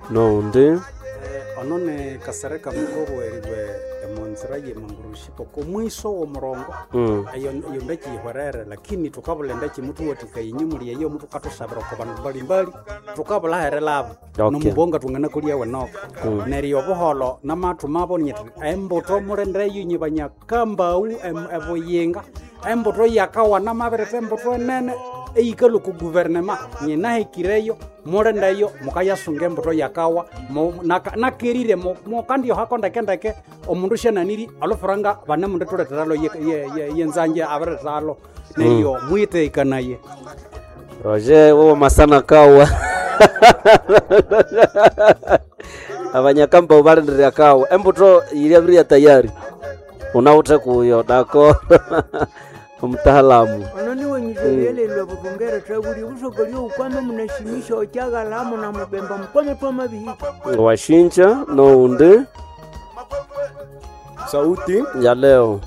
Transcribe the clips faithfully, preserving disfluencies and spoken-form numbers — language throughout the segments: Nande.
Noundi. Ono ni Kasereka Mukobo eriwe emonzira yemangurushi oko mwiso w'omurongo. Mm. Eyo eyo ndeki yihwerere, lakini tukabula endeki mutuwathikaya enyuma eyo mutukatusabira oko bandu mbalimbali tukabula herelabo. Okay. Nomubonga twanganakolya wenoka. Mm. Neryo obuholo namathu mabo nyethi embuto mulindeyo inye banyakambau em- ebuyinga embuto yakawana mabiretha embuto enene eyikalwa oku guvernema nyinahikireyo mulindeyo mukayasunga embuto yakawa mu- naka- nakerire mu- mukandiohako ndekendeke omundu syananiri alufuranga banemundithuletheralo ye- ye- ye- yenzange abirithalo neryo mwitekanaye. Roger wowo masana kawa. Abanyakamba balindirira kawa embuto yiriabiria tayari unawuthe kuyo dako omutaalamu. Ono niwe nyizobyelelwa bubongera thabuli obusoka lyoukwame munashimisha okyaghalamo na mubemba mukwame twamabihika. Washinja noundi. Sauti ya leo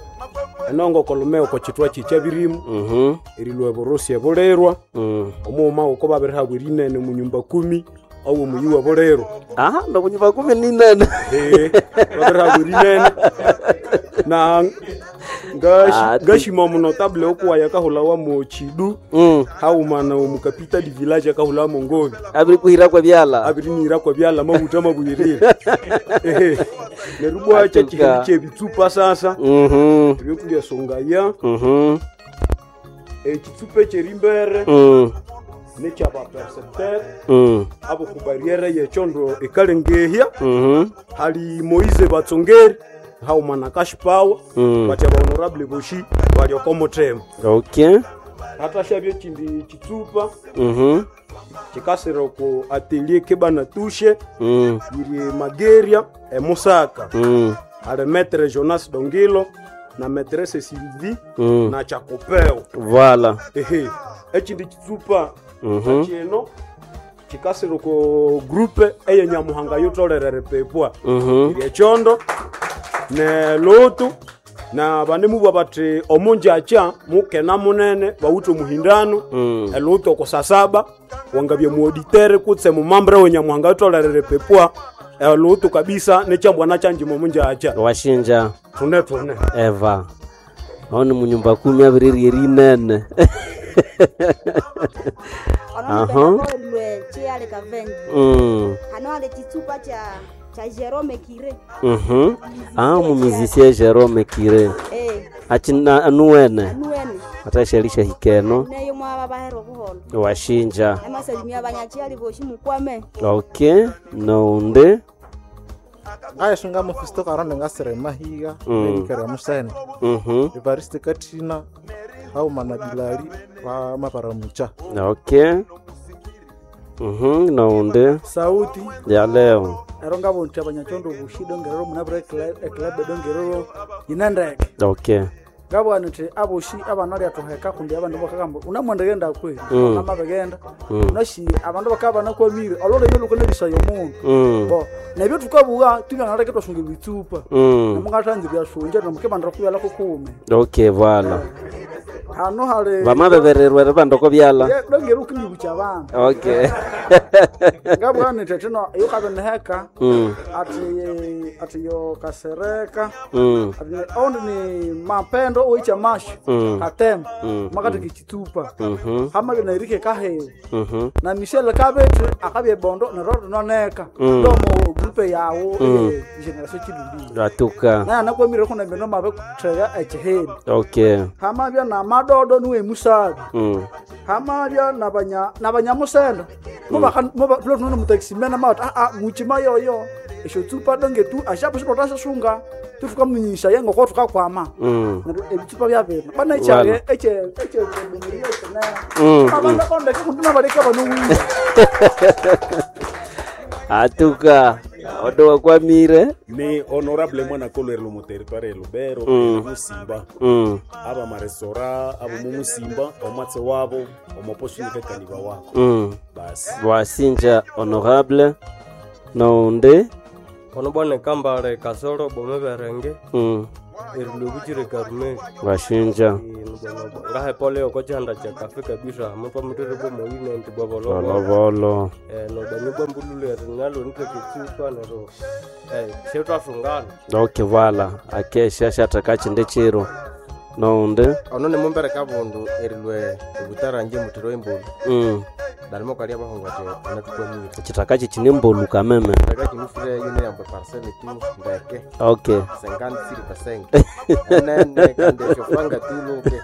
enongo kolumeo ko chitwa chicha birimu. Mhm. Erilwa burusi ebulerwa. Mm. Omuuma uko babirihabwa erinene mu nyumba kumi owo muyi wa bulero. Aha, ndo kunyumba kumi ni nene. Eh, babirihabwa erinene na ngashi Ah, ti- ngashima muno table okuwaya kahulawa mu chidu. Mm. Haumana omukapita di village akahulawa mu ngobi. Abiri kuhira kwa byala. Abiri nira kwa byala mabuta mabuyirire. Ehe. Neryo bwacha Atuka. chihindi kyebitsupa sasa. Mhm. Ebyokulya songaya. Mhm. Ekitsupa ekyerimbere. Mm. Nekyaba percepteur. Mm. Abo ku barriere yekyondo ekalengehya. Mhm. Hali Moise Batsongeri haumana cash power. Mm. Bati aba honorable boshi bali okomuthema. Okay. Hatashabye ekindi kitsupa. Mhm. Kikasira ku atelier kebana tushe. Mm. Yiri Mageria emusaka. Mm. Ali maître Jonas Dongilo na maîtresse Sylvie. Mm. Na Chakopeo. Voilà. Ehe. Ekindi kitsupa Mhm. kino kikasira ku groupe eyenyamuhanga yutolere pepwa. Mhm. Iri ekyondo ne lutu na banemubwa bati omunjakya mukena munene bawithe omuhindano. Mm. Elutu okusasaba wangabye muauditere kutse mumambre wenyamuhanga yutolere pepwa elutu kabisa nekyambwana kyanjima omunjakya. Washinja. Tune tune. Eva. Aho ni munyumba kumi abiriri erinene. Aha. Lwe chiale kavengi. Mm. Hano ale chitsupa cha cha Jerome Kire. Mhm. Ah, mumizisia Jerome Kire. Eh, Achina anuwene. anuwene. Atashelisha hikeno. Neyo mwaba bahero buholo. Washinja. Namasalimia abanyachiali boshi mukwame. Okay. Nounde. Ngayisunga mufisto karonde ngasira emahiga. Mm. Nerikera musene. Mhm. Evariste Katina hauma na Bilali vamaparamucha. Okay. Mhm, nounde. Sauti Ya leo. ero ngabonthi abanyachondo obushi dongerero munabire eclub dongerero yinendeke. Okay. Ngabwana nthi aboshi abana lyathuheka kundi abandu bakagamba unamwendaghenda kwe. Mm. Namabegenda. Mm. Unashi abandu bakaba banakwamire olulimi lukanabisaya omundu. Mm. Bo nebyo tukabuwa tubyanaleke twasunga ebitsupa. Mm. Namungathanza ebyasunja namukibandira kubyala kukume. Okay, voilà. Hano hali Vamabebererwa ribandoko byala. Ye, dongera ukindibukya abandu. Okay. Ngabwana nthi thino yukabeneheka. Mm. Ati ati yo kasereka. Mm. Ati ni- oundi ni mapendo oicha masho. Mm. Katema. Mm. Makati kichitupa. Mhm. Hamabye nairike kahewe. Mhm. Na Michelle kabete akabye bondo nero noneka. Mm. Ndomo grupe yawo Mm. e generation chidumbi. Atuka. Naye anakwamire kuna mbeno mabe kuthega ekiheni. Okay. Hamabya na madodo niwe musabi. Mm. Hamabya nabanya nabanyamusenda. Muba muba tulo mutaximena mawati ah ah muchima yoyo. Esho tsupa donge tu ashapo shipota tufuka munyisha yengo ko tukakwama. Mm. Neryo ebitsupa byabena bana Wala. ekyage ekye ekye ekyebumuri ekyenene. Mm, Abandu kondeke kundi nabaleka bano wiwe. Atuka. Odo wakwamire. Ni honorable mwana kolwerelo mu territoire ya Lubero. Mm. Musimba. Mm. Aba marestora abo mu Musimba omwatse wabo omoposhinikekaniba wako. Mm. Basi. Wasinja honorable. Nounde. Ono bwana kambale kasoro bomeberenge. Mm. Erilwe Karumeli. Washinja. Ngahe pole oko chihanda cha kafe kabisa mutwa mutiri bwo moyine nti bwa bolobolo. Bolobolo. Eh nobani bwa mbululu erinalo nite kitsupa nero. Eh shetwasungana. Okay, voilà. Akesha shataka chinde chiro. Nonde. Ono nimumbere kabundu erilwe obutaranje mutiro embulu. Mm. Dalimo kalia bahungu ati anatukwamire. Chitaka chichine mbulu kameme. Chitaka chinufire yune yambo parcelle tu ndeke. Okay. Cinquante six percent. Nene kande shofanga tu luke.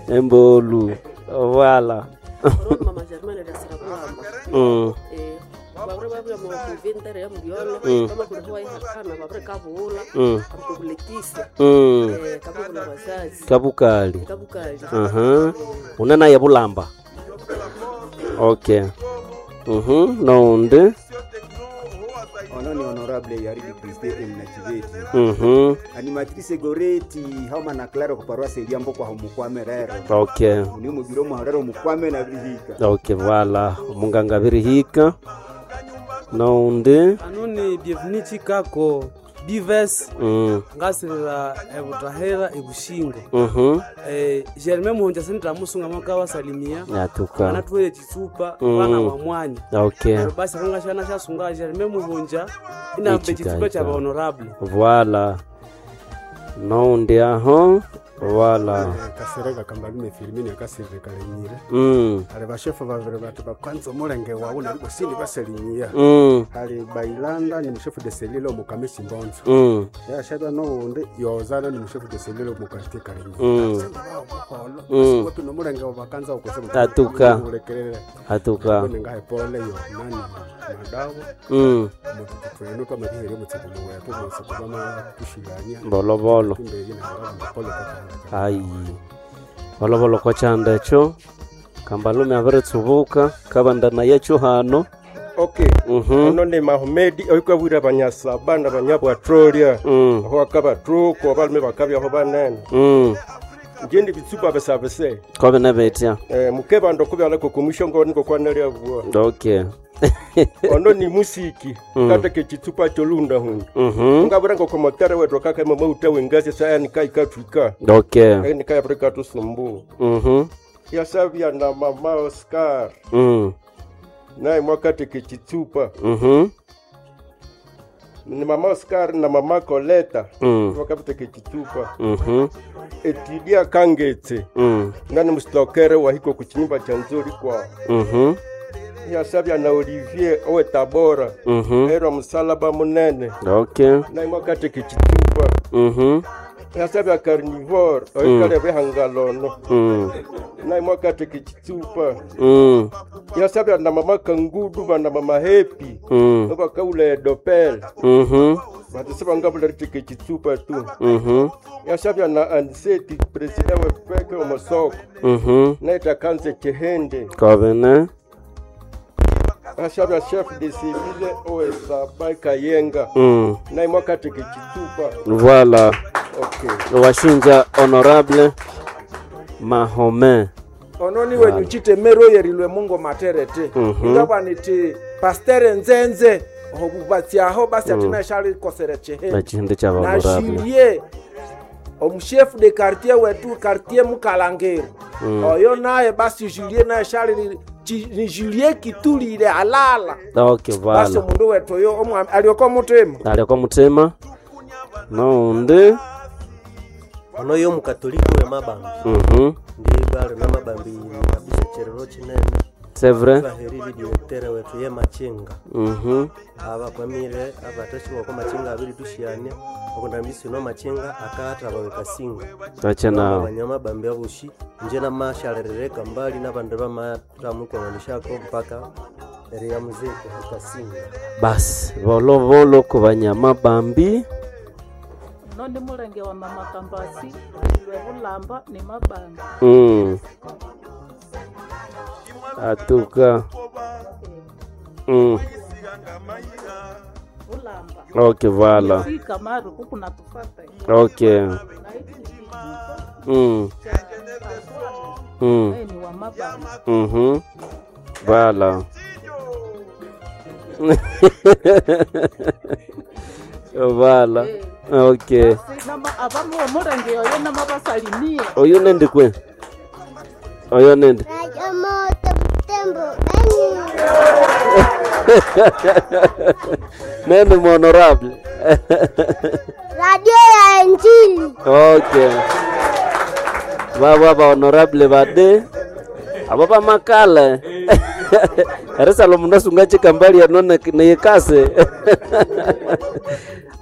Embolu. Voilà. Rona mama Germaine rasira kulamba. Mm. Eh, babure babula mu kuventere ya mubyono, Mm. kama kulikuwa ihakana babure kabula, Mm. kabukuletisa. Mm. Eh, kabukula bazazi. Kabukali. Kabukali. Uh-huh. Unena ya bulamba. Okay. Mhm, nonde. Ono ni honorable Yaridi Kriste Emnachiveti. Mhm. Animatrice Goreti hauma na Claro ku paroisse Eliambo kwa humukwame rero. Okay. Ni mugiro muharero mukwame na birihika. Okay, voilà. Munganga birihika. Nonde. Ano ni bienvenue Chikako Bives Mm. ngasirira ebutahera ebushingo. Mhm. Eh, Germain Muhonja sindramusunga mwaka wasalimia. Atuka. Anatwele chitsupa Mm. bana wa mwanya. Okay. Neryo basi akangashana shasunga Germain Muhonja inambe chitsupa cha honorable. Voilà. Nonde aho. Voilà. Kasereka kambalume Firmini akasirire kalenyire. Mm. Ali bashefu babiri bati bakwanza omulenge wawu nali sindi baselinyiya. Mm. Ali Bailanda ni mushefu de selile omukamisi mbonzo. Mm. Yashabya n'owundi Yozana ni mushefu de selile omukartie kalenyire. Mm. Buholo. Mm. Wetu nomulenge wabakanza okusema. Atuka. Ulekelele. Atuka. Nengahe pole yo nani madawo. Mm. Mututu twamabiheri omutsiko muwetu omutsiko bama tushilanya. Bolobolo. Tumbeli na pole kwa Ai. Bolobolo kwa chanda echo. Kambalume abiritsubuka kabanda yecho hano. Okay. Mhm. Ono ni Mahomedi oikwabwira abanyasaba nabanyabwatrolia. Mm. Aho akabatruko abalume bakabyaho banene. Mm. Nje bitsupa besabese. Kobe nebetya. Eh mukebando kubyala ko niko kwanalia bwa. Okay. Ono ni musiki Mm. kateke chitsupa cholunda hunda. Mhm. Ngabura ngo komotere wetu kaka mama utawe ngazi saya nikai katwika. Okay. Nikai Afrika tusumbu. Mhm. Yasabya na mama Oscar. Mm. Naye mwakateke chitsupa. Mhm. Ni mama Oscar na mama Coleta. Mm. Wakapiteke chitsupa. Mhm. Etidia kangetse. Mm. Nani mstokere wahiko kuchinyumba cha nzuri kwa. Mhm. Yasabya na Olivier owe Tabora. Mhm. Era musalaba munene. Okay. Naye mwakateke chitsupa. Mhm. Yasabya carnivore oikale behangalono. Mm. Naye mwakateke chitsupa. Mm. Yasabya na mama Kangudu bana mama Happy. Mm. Obakaula edopel. Mhm. Batisiba ngabula riteke chitsupa tu. Mhm. Yasabya na Anseti president wefeke omosoko. Mhm. Naita kanze chehende. Kobene. Yasabya chef de civile owesaba Kayenga. Mm. Naye mwakateke chitsupa. Voilà. Okay. Washinja honorable Mahome. Ono ni wenyu chitemero yerilwe mungo materete. Mhm. Ingabwa niti pastere nzenze obubatsyaho basi Mm. ati nashalikosere chehende. Echihindi cha honorable. Nashirie omushefu de quartier wetu quartier Mukalangeri. Mm. Oyo naye basi Julie naye shali chi- ni Julie kitulile alala. Okay, Basi voilà. omundu wetu oyo omwami alioko mutima. Alioko mutima. Nonde. Ono yo mukatoliki we mabambi. Mhm. Ndi bali na mabambi kabisa cherero chinene. C'est vrai. Baheriri directeur wetu ye machinga. Mhm. Abakwamire abatashiwa kwa machinga abiri tushiania okundambisi no machinga akata bawekasinga. Acha nao. Abanyama bambi abushi nje namashalerereka mbali n'abandu bamatamukonganishako mpaka eri ya muziki ekasinga. Basi volovolo ku banyama bambi. Nondi mulenge wa mama Kambasi lwe bulamba ni mabanga. Mm. Atuka. Mm. Bulamba. Okay, voilà. Fika maru kuku natufata. Okay. Mm. Mm. Naye ni wa mabanga. Mhm. Voilà. Vala. Okay. Abamu omulenge oyo namabasalimie. Oyo nende kwe. Oyo nende. Nende honorable. Radio ya Injili. Okay. Baba ba honorable bade. Abo bamakale. Erisalo mundu asunga chikambali ano neyekase.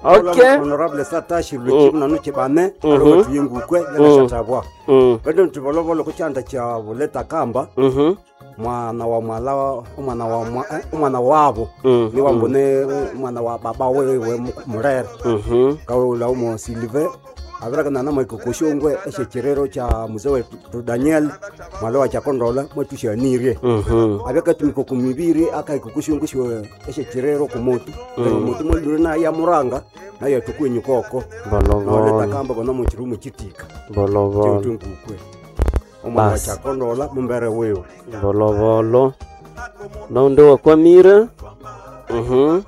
Okay. Honorable Satashi Luchimna nuchibane Mhm. alowethu yengukwe Mm. yanashatabwa. Mm. Bado ntibolovolo kuchanda cha buleta kamba. Mhm. Mwana wa mwala umwana wa mwa- eh, umwana wabo Mm. ni wambone umwana wa baba wewe murere Mhm. kaula umo Silve abirakana na mwikokoshongwe eshechirero cha mzee wetu Daniel mwala wa chakondola mwetushanirie Mhm. abakatumika kumibiri akaikokoshongwe shwe eshechirero kumotu Mm. mm. motu mwalure na ya muranga na yatukwenyukoko Bolovolo. noleta kamba bona muchirumu chitika Bolovolo. chitungukwe omwana wa Basi. chakondola mumbere wewe Bolovolo. Naundi wakwamire. Mhm.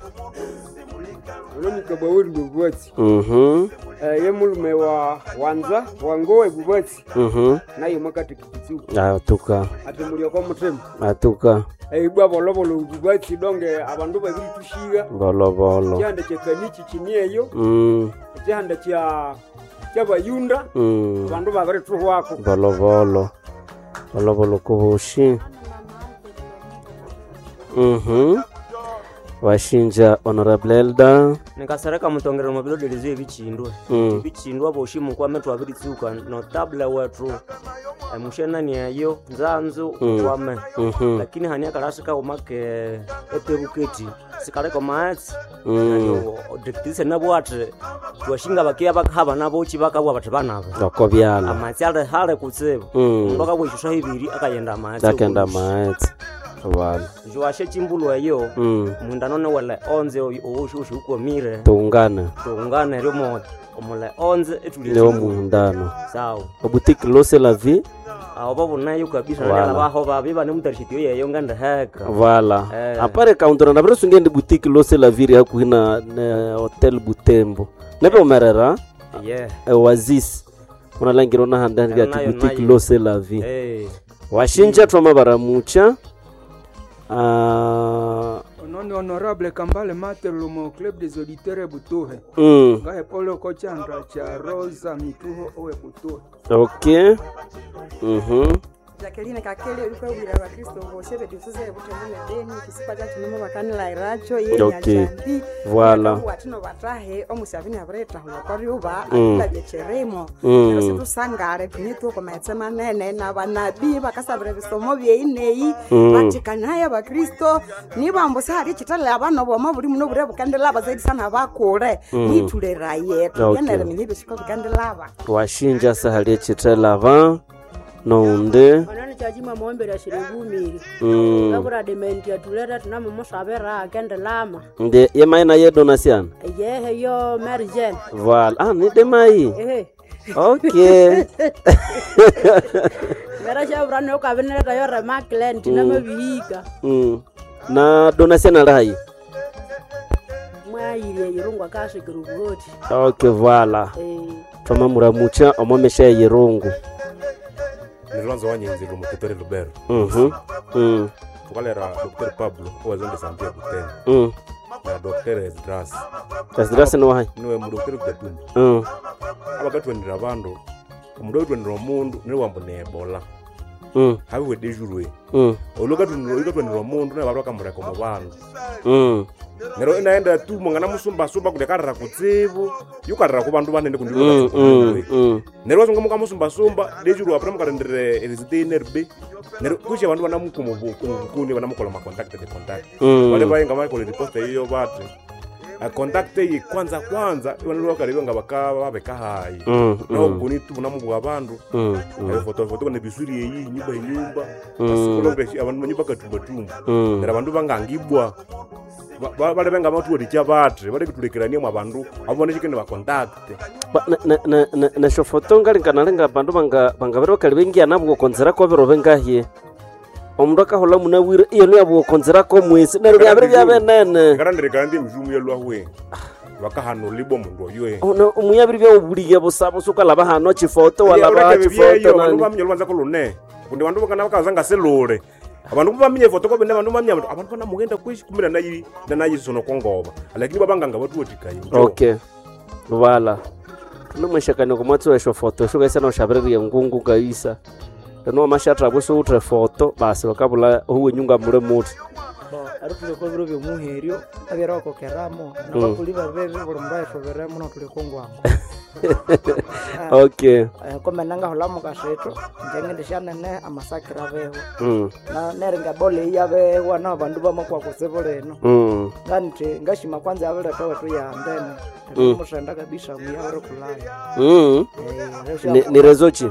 Veronica Baweri Bubwatsi Mhm. eh, ye mulume wa wanza wangowe Bubwatsi Mhm. naye mwakati kikitsuku Atuka. ati mulioko mutima Atuka. eibwa bolobolo Bubwatsi donge abandu babiri tushiga Bolovolo. chihanda kya kanichi chinieyo Mm. chihanda kya kyabayunda Mm. abandu babiri tuhwako Bolovolo. Bolovolo kubushi. Mhm. Washinja Honorable Elda. nikasereka mutongera mwabilodelezo ebichindwe Mm. ebichindwa boshi mukwame twabiritsuka notable wethu emushenani eyo nzanzu Mm. kwame Mhm. lakini hani akalasika umake etebuketi sikaleka maetsi Mm. direktrise nabwati twashinga bakiya bakahaba nabochi bakabwa bati banabo Oko byala. amatsi ali hale kutsibu Mm. omundu akabwa ibiri akayenda amatsi Akenda maetsi. Wala. jwashe chimbulu eyo Mm. mundu anone wele onze owoshoshi ukwamire Tuungane. tuungane ryomo omule onze etuli Leo muundano. sawa Obutiki lose la vie. aho babonayo kabisa Wala. nala baho babi bane mutarishitiyo yeyo ngandeheka Voilà. Eh. Apare kaundura na birosunge ndi boutique lose la vie hakuhi na ne hotel Butembo. Nebe umerera. Yeah. E, Oasis. Unalangira na handa Eh, ati nayo, boutique nayo. lose la vie. Eh. Washinja twama baramucha. Ah, Ononi honorable Kambale Mate lumo club des auditeurs Butuhe. Mm. Ngahe pole ko chandra cha Rosa Mituho owe Butuhe. okay. Mhm. Jacqueline Kakele ulikwawira abakristo bose bediusize butembo ne beni kisipa kyacu nomo bakanilairacho ye Okay. nyajambi Voilà. watino batahe omusabini abiretahula kwaryuba Mm. atulabyecheremo Mm. neryo situsangare thune tukomaetse manene nabanabii bakasabira ebisomo byeineyi Mm. batikanaye abakristo nibambu sihali ekitale abana boma buli muno bure bukandilaba zaidi sana bakule Mm. nithuleraye Okay. tugenere minye ebisiko bikandilaba Washinja sahali echitelava nounde onani chachimwa muombera shiribumiri Mm. ngabura dementi atuleta tunamumusabira akendelama nde yemaina ye donasiana yehe yo Mary Jane Voilà. Ah, ni demai. ehe Okay. ngera shabura nokabinireta yo remaklen tinamabihika Mm. Na donasiana rayi. mwayirie yirungwa kashikira obuhoti Okay, voilà. Eh. Twama muramucha omomesha yirungu. Nilwanzo wanyenzi lumukitore Lubero. Mhm. Mm. Tukalera Dr. Pablo owazonde Santia Butembo. Mm. Na Dr. Esdras. Esdras ni wahayi? Niwe mu Dr. Kudatumba. Mm. Abakatwenera abandu omundu oitwenera omundu niwe wambu ne Ebola. Mm. Habiwe dejurwe. Mm. Olukatwenera omundu naye bandu bakamureka omu bandu. Mm. Neryo inaenda tu mungana musumbasumba kundi akarira kutsibu yukarira ku bandu banene kundi Mm, mm, mm. neryo wasunga mukamusumbasumba dejuru apra mukarendere erisite nerbe neryo kusha abandu banamukumubukuni banamukola macontact de contact Mm. bale bayenga bakola riposte iyo bati a contact iyi kwanza kwanza ibandu bakarebe nga baka babeka hayi Mm, naho mm. bukuni tu bunamubwa abandu Mm, mm. Ayo foto foto ne bisuri eyi nyumba enyumba Mm. asikolombe abandu manyumba katumbatumba Mm. neryo abandu bangangibwa Ba- ba- bale benga batuwatikya bati balekitulekerania mwa bandu abonekekene bakontakte Ba- na- na- na- na- nesyofoto ngalinga bandu banga bangabere bakali bengia nabwo konzerako biro bengahye omundu akahola munabwire iyo niyabwo konzerako mwesi neryo byabere byabenene ngarandirekana ndi emizumu yalwahwe Bakahanulibwa omundu oyo. Ono omuyabiri bya obulige busa busa ukalaba hano chifoto walaba chifoto Abandu nani. baminya olubanza kolune. Kundi bandu bakana bakaza ngaselule. Abandu baminya efoto kobene abandu baminya abantu banamugenda kweshi kumbe nanayi nanayisono kongoba. Lakini babanganga batuwatikayo. Okay. Vala. Tunomweshakani kumwatsi wesho foto shukaisa noshabirirye ngungu kaisa. Lino amashatra busa utre foto basi bakabula huwe nyunga mule muti. Bo, ari tuli ko biro byomuheryo abyera bakokeramo nabakuli babebe buli mundu ayithoberemo notuli kongwango. Okay. Komena ngahulha mukashetho inje ngendisyanene amasakira abeho. Mm. Na neringa bola eyi yabewa nabandu bamakwa kutsibu lino. Mm. Nganithi ngashima kwanza yabiretha wethu yandene Mm. tumuthenda kabisa muyabirikulhayo. Mm. Eh, Ni, ni rezochi.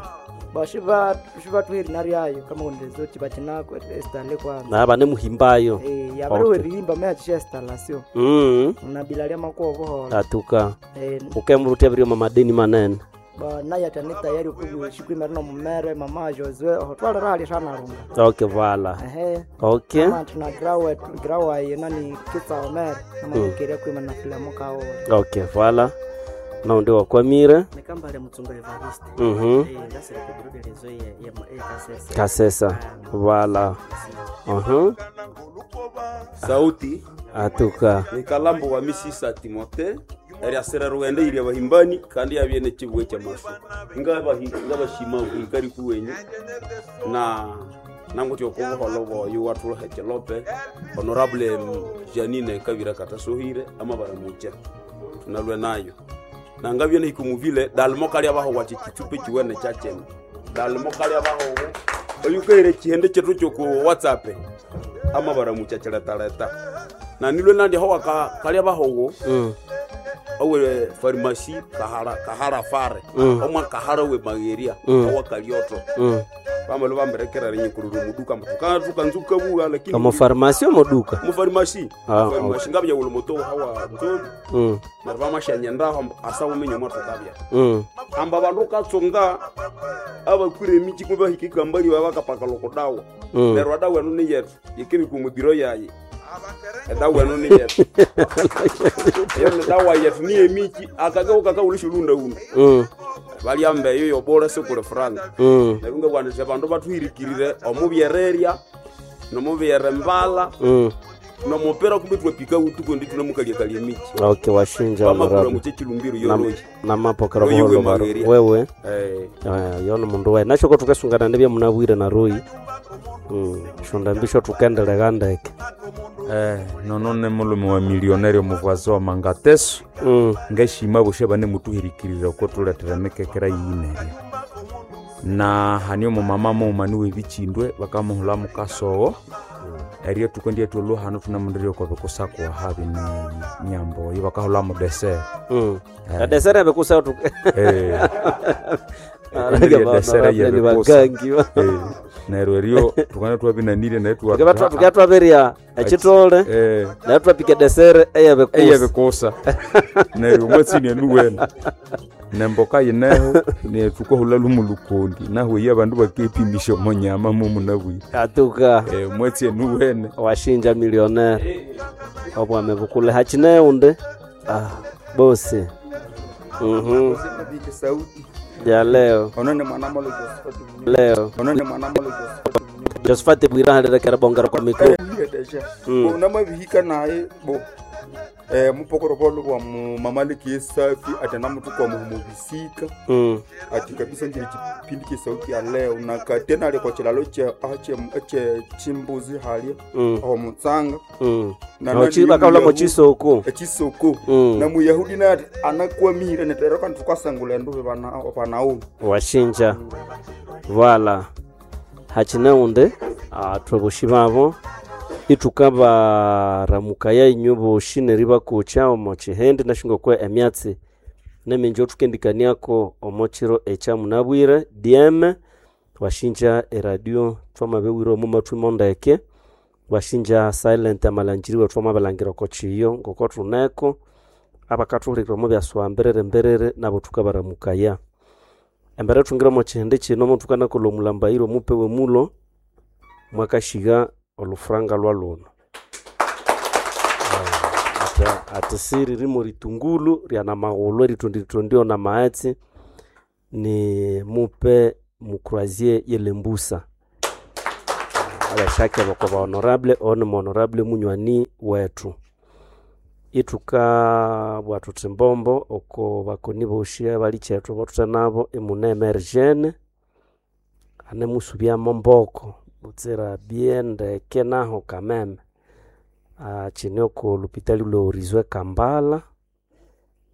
Bashiba shibathuheri naryayo kamakondezochi bakinako estale kwanza. Na bane muhimbayo. Eh, yabiriwerihimba meyacisha estalasio. Mm. Nabila lyamakwa obuhola. Atuka. Eh, Ukemurutia biri mamadeni manene. ba naye atani tayari okushikwimerino nomumere mama Josue ohotwalera hali shanarunga. Okay, vala. Ehe. Okay. Mama tuna grawe grawa nani kitsaomere namanyikire kwima na filamu kawo. Okay, vala. Naundi wakwamire. Nekambale Mutsunga Evariste. Mhm. Eh, ngasire ku bureau de liaison ye ye ye Kasesa. Kasesa. Vala. Mhm. Sauti Atuka. ni kalambo wa misisa Timote eriasira rugenda iria bahimbani kandi yabyene kibwe kyamasu ngabashima ikari kuwenyu na nanguti okubuholo boyu watuluha kilope honorable Janine Kabira Katasohire amabaramucha tunalwe nayo nangabye nihikumuvile dalimo kali abaho wachichitupe chiwene chachene dalimo kali abaho oyukaire chihende chetu choku WhatsApp amabaramucha chiletaleta na nilwe nandi ho waka kali abahowo Mm. owe farmasi kahara kahara fare Mm. omwa kahara we mageria Mm. owa kalioto Mm. bamalo bamberekera rinyikururu muduka mtuka tukanzuka buga lakini Omu farmasi omuduka. mu farmasi Ah, farmasi okay. ngabya ulo moto hawa nzori Mm. neryo bamashanyenda asa umenye mwathu kabya Mm. amba bandu katsonga abakwire emiji kumbe bahika ikambali babakapaka lokodawa Mm. neryo adawa eno ni yetu yikibika omubiro yaye edawa eno ni yetu eyo ni dawa yetu ni emiji akageuka kaulisha ulunda Mm. balyamba eyo yobora sikuli franga Mm. neryo ngabwanise bandu bathuhirikirire omubyererya nomubyerembala Mm. nomupira kumbe twapika utuku ndi tunamukalyakalya emiji Okay, washinja Bamakura honorable. muche chilumbiro Nam- yoroyi. Namapokera Royi buholo we baro. Mageria. Wewe. Eh. Eh, yono mundu we. Nashoko tukasungana ndibya munabwire na Royi. Mm. Shonda mbisho tukendelega ndeke. Eh, nono ne mulume wa milionaire omuvazi wa mangateso mm. ngashima bushe bane mutuhirikirira oko tuletera emikekera yiyinerya na hani omumama muuma niwe bichindwe bakamuhula mukasowo erio tukendie twoluhano tunamundirie oko bikusakuwa habi ni nyambo oyo bakahula mudesere Mm. Adesere bikusa tu. Eh. Arage ba- Desere ni yebikusa. bagangi ba. Eh, neryo erio tukana twabinanire naye tuwa- Tukaba tukaba twaberya ekitole. Eh. Naye twapika desere eyebikusa. Eyebikusa. Neryo omwatsini enuwene nemboka yineho netukohula lumulukondi nahweya abandu bakepimisha omonyama mumunabwire Atuka. Eh, omwatsi enuwene Washinja millionaire. Obwame bukule hachine unde. Ah, bosi. Mhm. Sauti Ya leo. onone mwana molo Josephat Leo. onone mwana molo Josephat Josephat Bwira halirekera bongera kwa mikro. Deja Mm. bo namabihika naye bo eh mupokoro bolo bwa mu mamaliki yesafi ati namutuka muhumubisika Mm. ati kabisa njiri chipindi kisauti ya leo na katena ali kwa chilalo che ache ache chimbuzi halia Mm. aho mutsanga Mm. Na Aho nani chi- bakahula Muyahudi- mochisoko. echisoko Mm. na muyahudi naye ati anakwamire netero kandi tukasangula nduve bana banaumi Washinja. Vala. Hachine unde. Atwe boshi babo. Itukabaramuka inyu boshi neribakucha omo chihende nashinga kwe emyatsi neminji otukendikaniako omo chiro echa munabwire D M washinja eradio twamabewire omu matwi mondeke washinja silent amalanjiriwe twamabalangira oko chiyo ngoko tuneko abakathuhulekera omu byasuwa mberere mberere nabo tukabaramukaya embere thungire omo chihende chino mothukanakolha omulambayiro omupewe mulo mwakashiga olufuranga lwa luno. Ati siri rimo ritungulu ryana maghulhu erithondirithondi na maghetse ni mupe mucroisier yelembusa abashake boko ba honorable ono mu honorable munywani wethu ithuka bwa thuthi mbombo oko bakoni boshi abalikyetu bothuthe nabo imune emergene anemusubyamo mboko butsira bie ndeke naho kameme Ah, kine oko lupitali lwe Kampala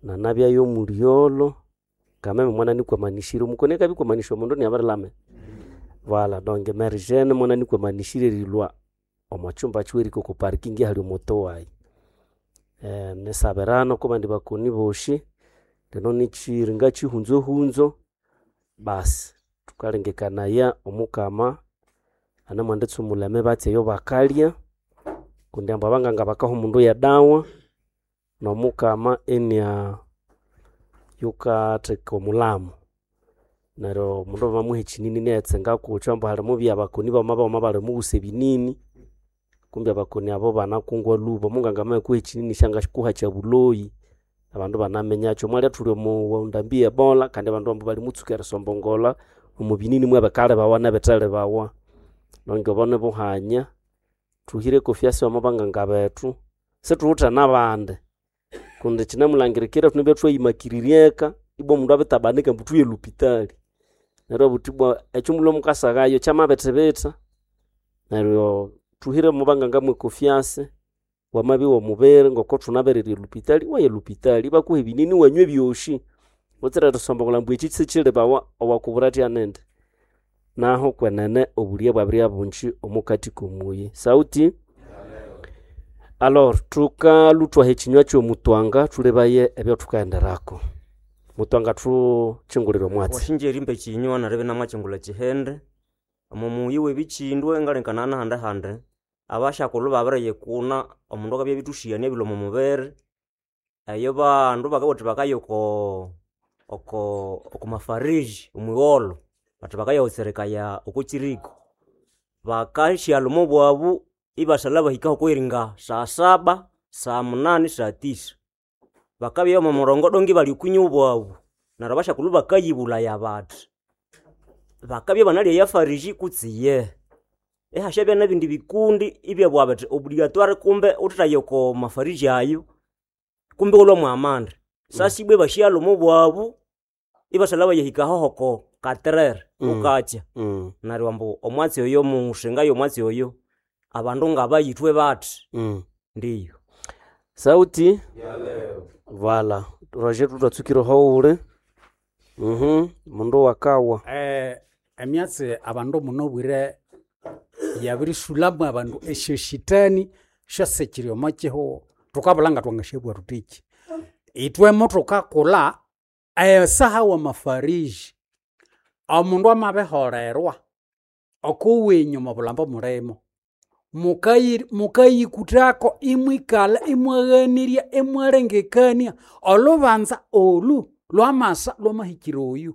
nanabyayo omulyolo kameme mwana nikwamanishire omukoni akabikwamanishwa omundu niabirilame Voilà, donc emergene mwana nikwamanishire erilwa omo chumba chiweriko oko parking hali omoto wayi eh, nisabirano kubandi bakoni boshi lino nichiringa chihunzohunzo basi tukalengekanaya omukama anamwanditsumula emibatsi eyo bakalya kundi ambu abanganga bakaha omundu yedawa nomukama enia yukatheka omulamo neryo omundu bamamuha ekinini niyetsenga kukyo ambu halimubya abakoni bama bama balimuwusa ebinini kumbi abakoni abo banakungwa lhuba omunganga amakuha ekinini syangakuha kyabuloyi abandu banaminyakyo mwalya thuli omu ndambi ye Ebola kandi abandu ambu balimutsuka erisombongola omu binini mwebikalibawa nebithalibawa nonge obo nibuhanya thuhire confiance omo banganga bethu situwithe nabandi kundi kyinamulangirikira thunabya thwayimakiriryeka ibwa omundu abitabanika ambu thuye lupitali neryo obuthi ibwa ekyo mulhwa mukasaghayo kyamabithibitha neryo thuhire omo banganga mwe confiance wamabya iwomubiri ngoko thunabererya elupitali waya elupitali ibakuha ebinini wanywa ebyosi butsira erisombokolha ambu ekyi sikyilibawa owakubura athya nindi naho kwenene obulya bwabiribya bungi omukati komuyi sauti alors thukalhuthwaha ekinywa kyomutwanga thulebaye ebyathukaghenderako mutwanga thukyingulire omwatsi washinja erimba ekinywa neryo namwakyingula kihende omo muyi webikyindwe ngalengekana nahandi handi abashakulhu babiriyikuna omundu akabya ebithushiyania ebilwa omo mubiri eyo bandu bakabugha bathi bakaya oko oko oko mafariji omwigholho bathi bakayawutserekaya oko kiriko bakasyalha obwabu ibasalha bahika okweringa saa saba saa munani saa tisa bakabya omo murongo donge bali okunywa obwabu neryo abashakulhu bakayibulaya bathi bakabya banalya eyafariji kutse iye ihasyabya nebindi bikundi ibyabugha bithi obligatoire kumbe wuthithaya oko mafariji ayo kumbe iwalhwa mwamande sasibwa ibasyalha omo bwabu ibasalha bayahika aho oko katerere Mm. bukakya Mm. neryo ambu omwatsi oyo musingayo omwatsi oyo abandu ngabayithwe bathi Mm. ndiyo sauti vala roger tutwatsukire howule mhm mundu wakawa Eh, emyatsi abandu munobwire yabirisulamwe abandu esyoshitani syasikiri omo kihugho thukabulha nga twangasyabugha thuthiki ithwemo thukakulha esaha wamafariji omundu amabiholerwa okuwinyu omobulhambo mulimo mukayi mukayikuthako imwikalha imwaghanirya imwalengekania olhubanza olu lwamasa lwamahikira oyu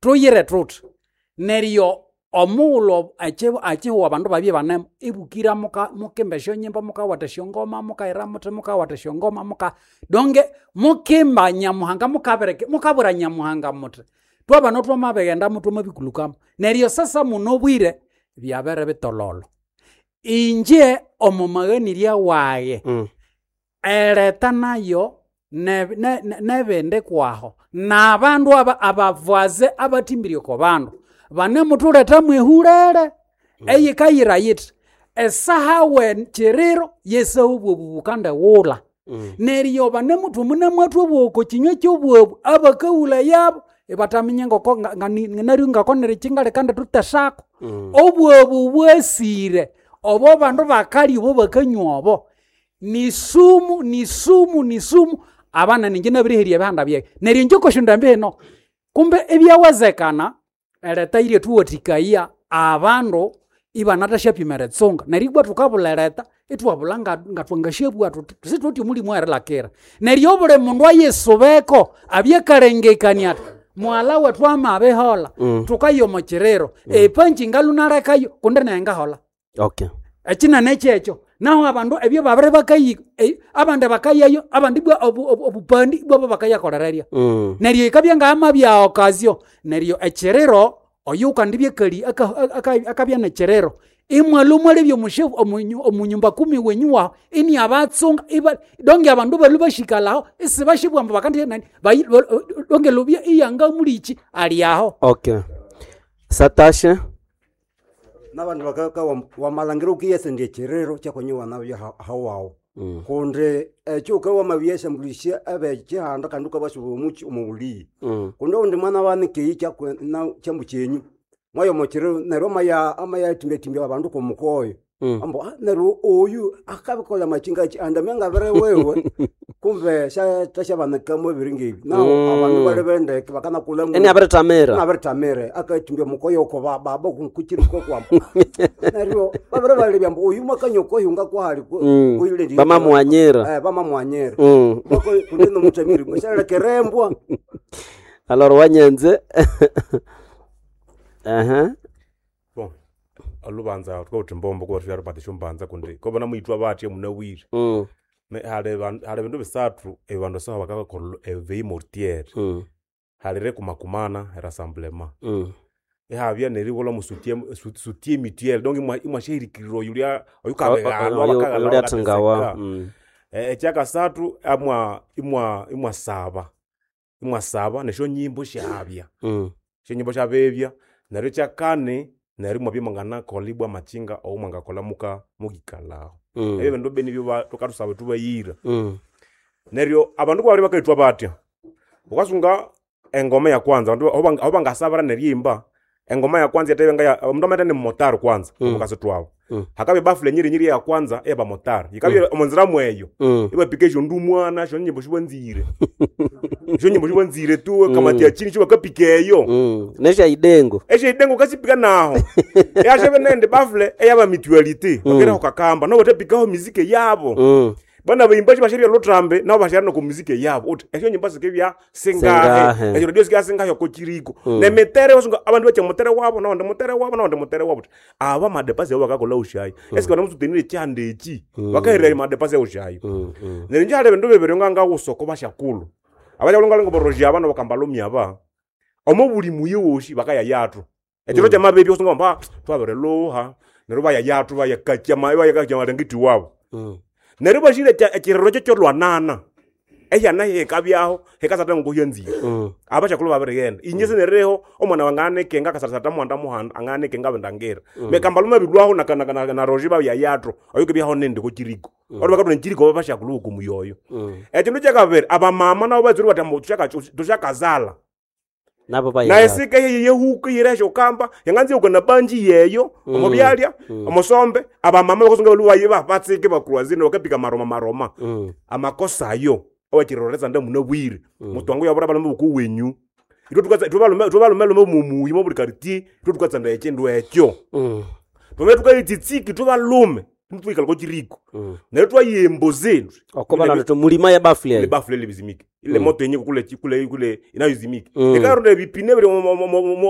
thuyire thuthi neryo omughulhu akyi- akihugho abandu babye banemo ibukira muka mukimba esyonyimbo mukawatha esyongoma mukayira muthi mukawatha esyongoma muka donge mukimba nyamuhanga mukabireke mukabwira nyamuhanga muthi twabana twamabighenda twamabikulukamo neryo sasa munobwire byabere bitololo inje omo maghanirya waye ereta nayo ne- ne- ne- nebindi kwaho nabandu aba abavaze abathimbirye oko bandu banemuthuletha mwehulere eyikayira yithi esaha we kiriro yesaha obwobu bukandighulha neryo banemuthu munemwathu obwoko kinywa kyobwobu abakawula yabo ibataminya ngoko nga- nga- naryo ngakonere kingaleka ndithutesako obwobu bwasire obo bandu bakalya obo bakanywa obo ni sumu ni sumu ni sumu abana ninje nabiriherya ebihanda byayi neryo inje okosyonda mbino kumbe ebyawezekana ereta irye thuwathikaya abandu ibanathasyapima eritsunga neryo ibwa thukabulha ereta ithwabulha nga- nga thwangasyabugha thuthi sithuthi omulimu erilakira neryo obuli mundu ayisubeko abyakalengekania athi mughalha wethu amabiholha Mm. thukaya omo kiriro epanji ngalunalekayo kundi naye ngaholha okay ekinene kyekyo Naho abandu ebyo babere bakayi eh, abandi bakayayo abandi bwa obu- obu- obupandi bwabo bakayakolereria. Mm. Neryo ikabya ngama bya okazio neryo ekiriro oyo ukandibya kali akabya nekiriro imwalhu mwalebya omushefu omunyu- omunyumba kumi wenyu waho ini abatsunga iba donge abandu balu bashikalaho isibashibwa ambu bakandi nani bayi- ba- donge lubya iyanga mulichi aliaho. Okay. Satashe. N'abandu bakaka wamalangira ukiyesendya ekiriro kyakonyiwa nabyo hawawu. Mm. Kundi ekyo ukawamabyeshambulisya abekihanda kandi ukabasuba omuki omubuliyi. Mm. Kundi oundi mwana wanikeyi kyambu kyenyu mwayo omukiriro neryo amaya amayatimbyatimbya abandu kwomukoyo. Mm. Ambu "Ah, neryo oyu akabikolha machingachi andamya ngabere wewe kumbe syatasyabanikamu ebiri ngebi naho." Mm. Abandu bali bendeke bakanakulha Eni abiritamira. Abiritamira akatimbya mukoyo oko ba- baba kukiriko kwamba neryo babere balebya ambu oyu mwakanya okoyunga kwahali Mm. Bamamughanyira. Bamamughanyira. Mm. Kundi nomutamiri syalekerembwa. Alors wanyenze. Aha. Bon, olubanza tukauthi mbombo kuba thulyarupata esyombanza kundi kobana mwithwa batya munabwire. Mm. Ne- hali ban- hali bindu bisathu ebandu saha bakabakolha eveille mortuaire. Mm. Hali erikumakumana erassemblement. Mm. Ihabya neribulha mu soutien soutien mutuel donc imwa- imwashahirikirira oyu ulya O- o- oyukabighalwa oyu- bakaghalwa oyu ulyathungawa. bakateseka. Mm. Eh, ekyakasathu amwa imwa imwasaba imwasaba nesyonyimbo syabya. Mm. Esyonyimbo syabebya neryo ekyakani neryo imwabya mwanganakolha ibwa amachinga owomwangakolha muka mukikalhaho. Mm. Ebyo bindu bini byo thukathusaba thubayira. Mm. Neryo abandu kubabiri bakayithwa batya wukasunga engoma ya kwanza abandu aho aho bangasabira neriyimba engoma ya kwanza yatebya omundu amatha ni mumotari kwanza Mm. omukasitwawu. Mm. Hakabya ebafula enyirinyiri ya kwanza eyabamotari yikabya Mm. omonzira mweyo. Mm. Ibapika esyondumwana esyonyimbo sibwanzire esyonyimbo sibwanzire tu Mm. kamati achini sibakapika eyo. Mm. Nesyaidengo. Esyaidengo ukasipika naho eyashabe nende bafule eyaba mutuality Mm. bakeraho kakamba nabo bathapikaho miziki yabo. Mm. Bana bayimbashi basharya lutrambe nabo basharya noko muziki yabo uthi esyonyimbo sikibya singahe Singahe. esyo radio sikibya singahe oko kiriko. Mm. Nemitere wasunga abandu bakya mutere wabo nawandi mutere wabo nawandi mutere wabo uthi aba madepasi abo bakakolha ushayi. Mm. Esike banamusutenire ekyihanda eki Mm. bakahirira madepasi aushayi. Mm. Mm. Neryo inje hali ebindu bibiri ngangawusa oko basyakulhu abasyakulhu ngalinga boroji aba nabakambalomi aba omo buli muyi wosi bakayayathu ekiro Mm. kyamabebya wusunga bamba twabirilhuha neryo bayayathu bayakakya bayakakya amalangiti wabo. Mm. Neryo bashire ekiriro kyekyolwanana ehyana hikabyaho hikasatha ngokuhyanzire. Mm. Abasyakulhu babirighenda inje sineriho omwana wange anikenga akasatha muhanda muhanda anganikenga abindangira. Mm. Mekambalume abilwaho na, na, na, na roji babyayathu oyukibyaho nindi kokiriko. Mm. Ori bakatuna ekiriko babasyakulhu okumuyoyo. Mm. Ekindu kyakabiri abamama nabo batsire bathi ambu thusyaka- thusyakazalha Nabo naye bayayathu. sika yeyehuka yiresha okamba yanganza yoka na banji yeyo Mm. omo byalya Mm. omosombe abamama bakasunga balu bayiba batsike bakurwazine bakapika maroma maroma. Mm. Amakosa ayo awakiroreza nda munabwire. Mm. Mutwangu yabura balume bukuwenyu itwe tukatsa itwe balume itwe balume lume mumuyi mo buli quartier itwe tukatsanda ekindu ekyo. Mm. Tume tukayitsitsiki itwe balume nitwikala ko kiriko. Mm. Neryo twayemboze Oko balanda mulima ya bafuli ile eyo. bafule libizimike ile Mm. moto yenye kule kule kule inayozimika. Mm. Ikaronda ebipine biri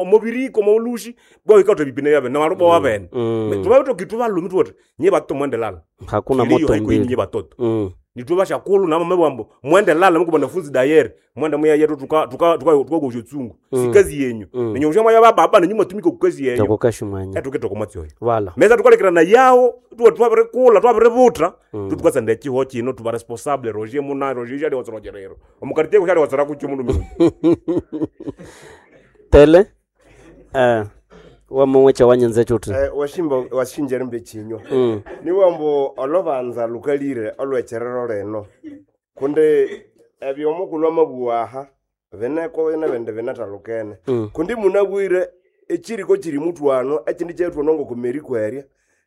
mubiriko molushi bwa ikaronda ebipine byabe na marubo wabene. Mm. Tuba tuki tubalumi tuti nye batoto mwende lala. Hakuna Kilio moto haiko mbili. nye batoto. Mm. Nitwe bashakulu na mama bwambo mwende lala muko banafunzi dayere mwende muya yetu tuka tuka tuka tuka gosho tsungu. Mm. Sikazi yenyu. Mm. Nenyo mshama ya baba nenyu matumika kukazi yenyu. Tokokashi mwanya. Etukete komatsoyo. Wala. Meza tukalekera yawo tuwa twabirikula twabiributa. Mm. Tutukatsanda ekiho kino tuba responsable Roger muna Roger shali watsorogerero omukartie kushali watsora kucho mundu mingi. Tele. Eh. Wamumwecha wanyenze chuti. Eh, washimba washinja rimbe chinywa. Mm. Niwambo olobanza lukalire olwecherero leno kundi ebyo omukulhu amabuwaha bineko nebindi binathalukene. Mm. Kundi munabwire ekiriko kiri mutwano ekindi kyetwano ngokumeri kwerya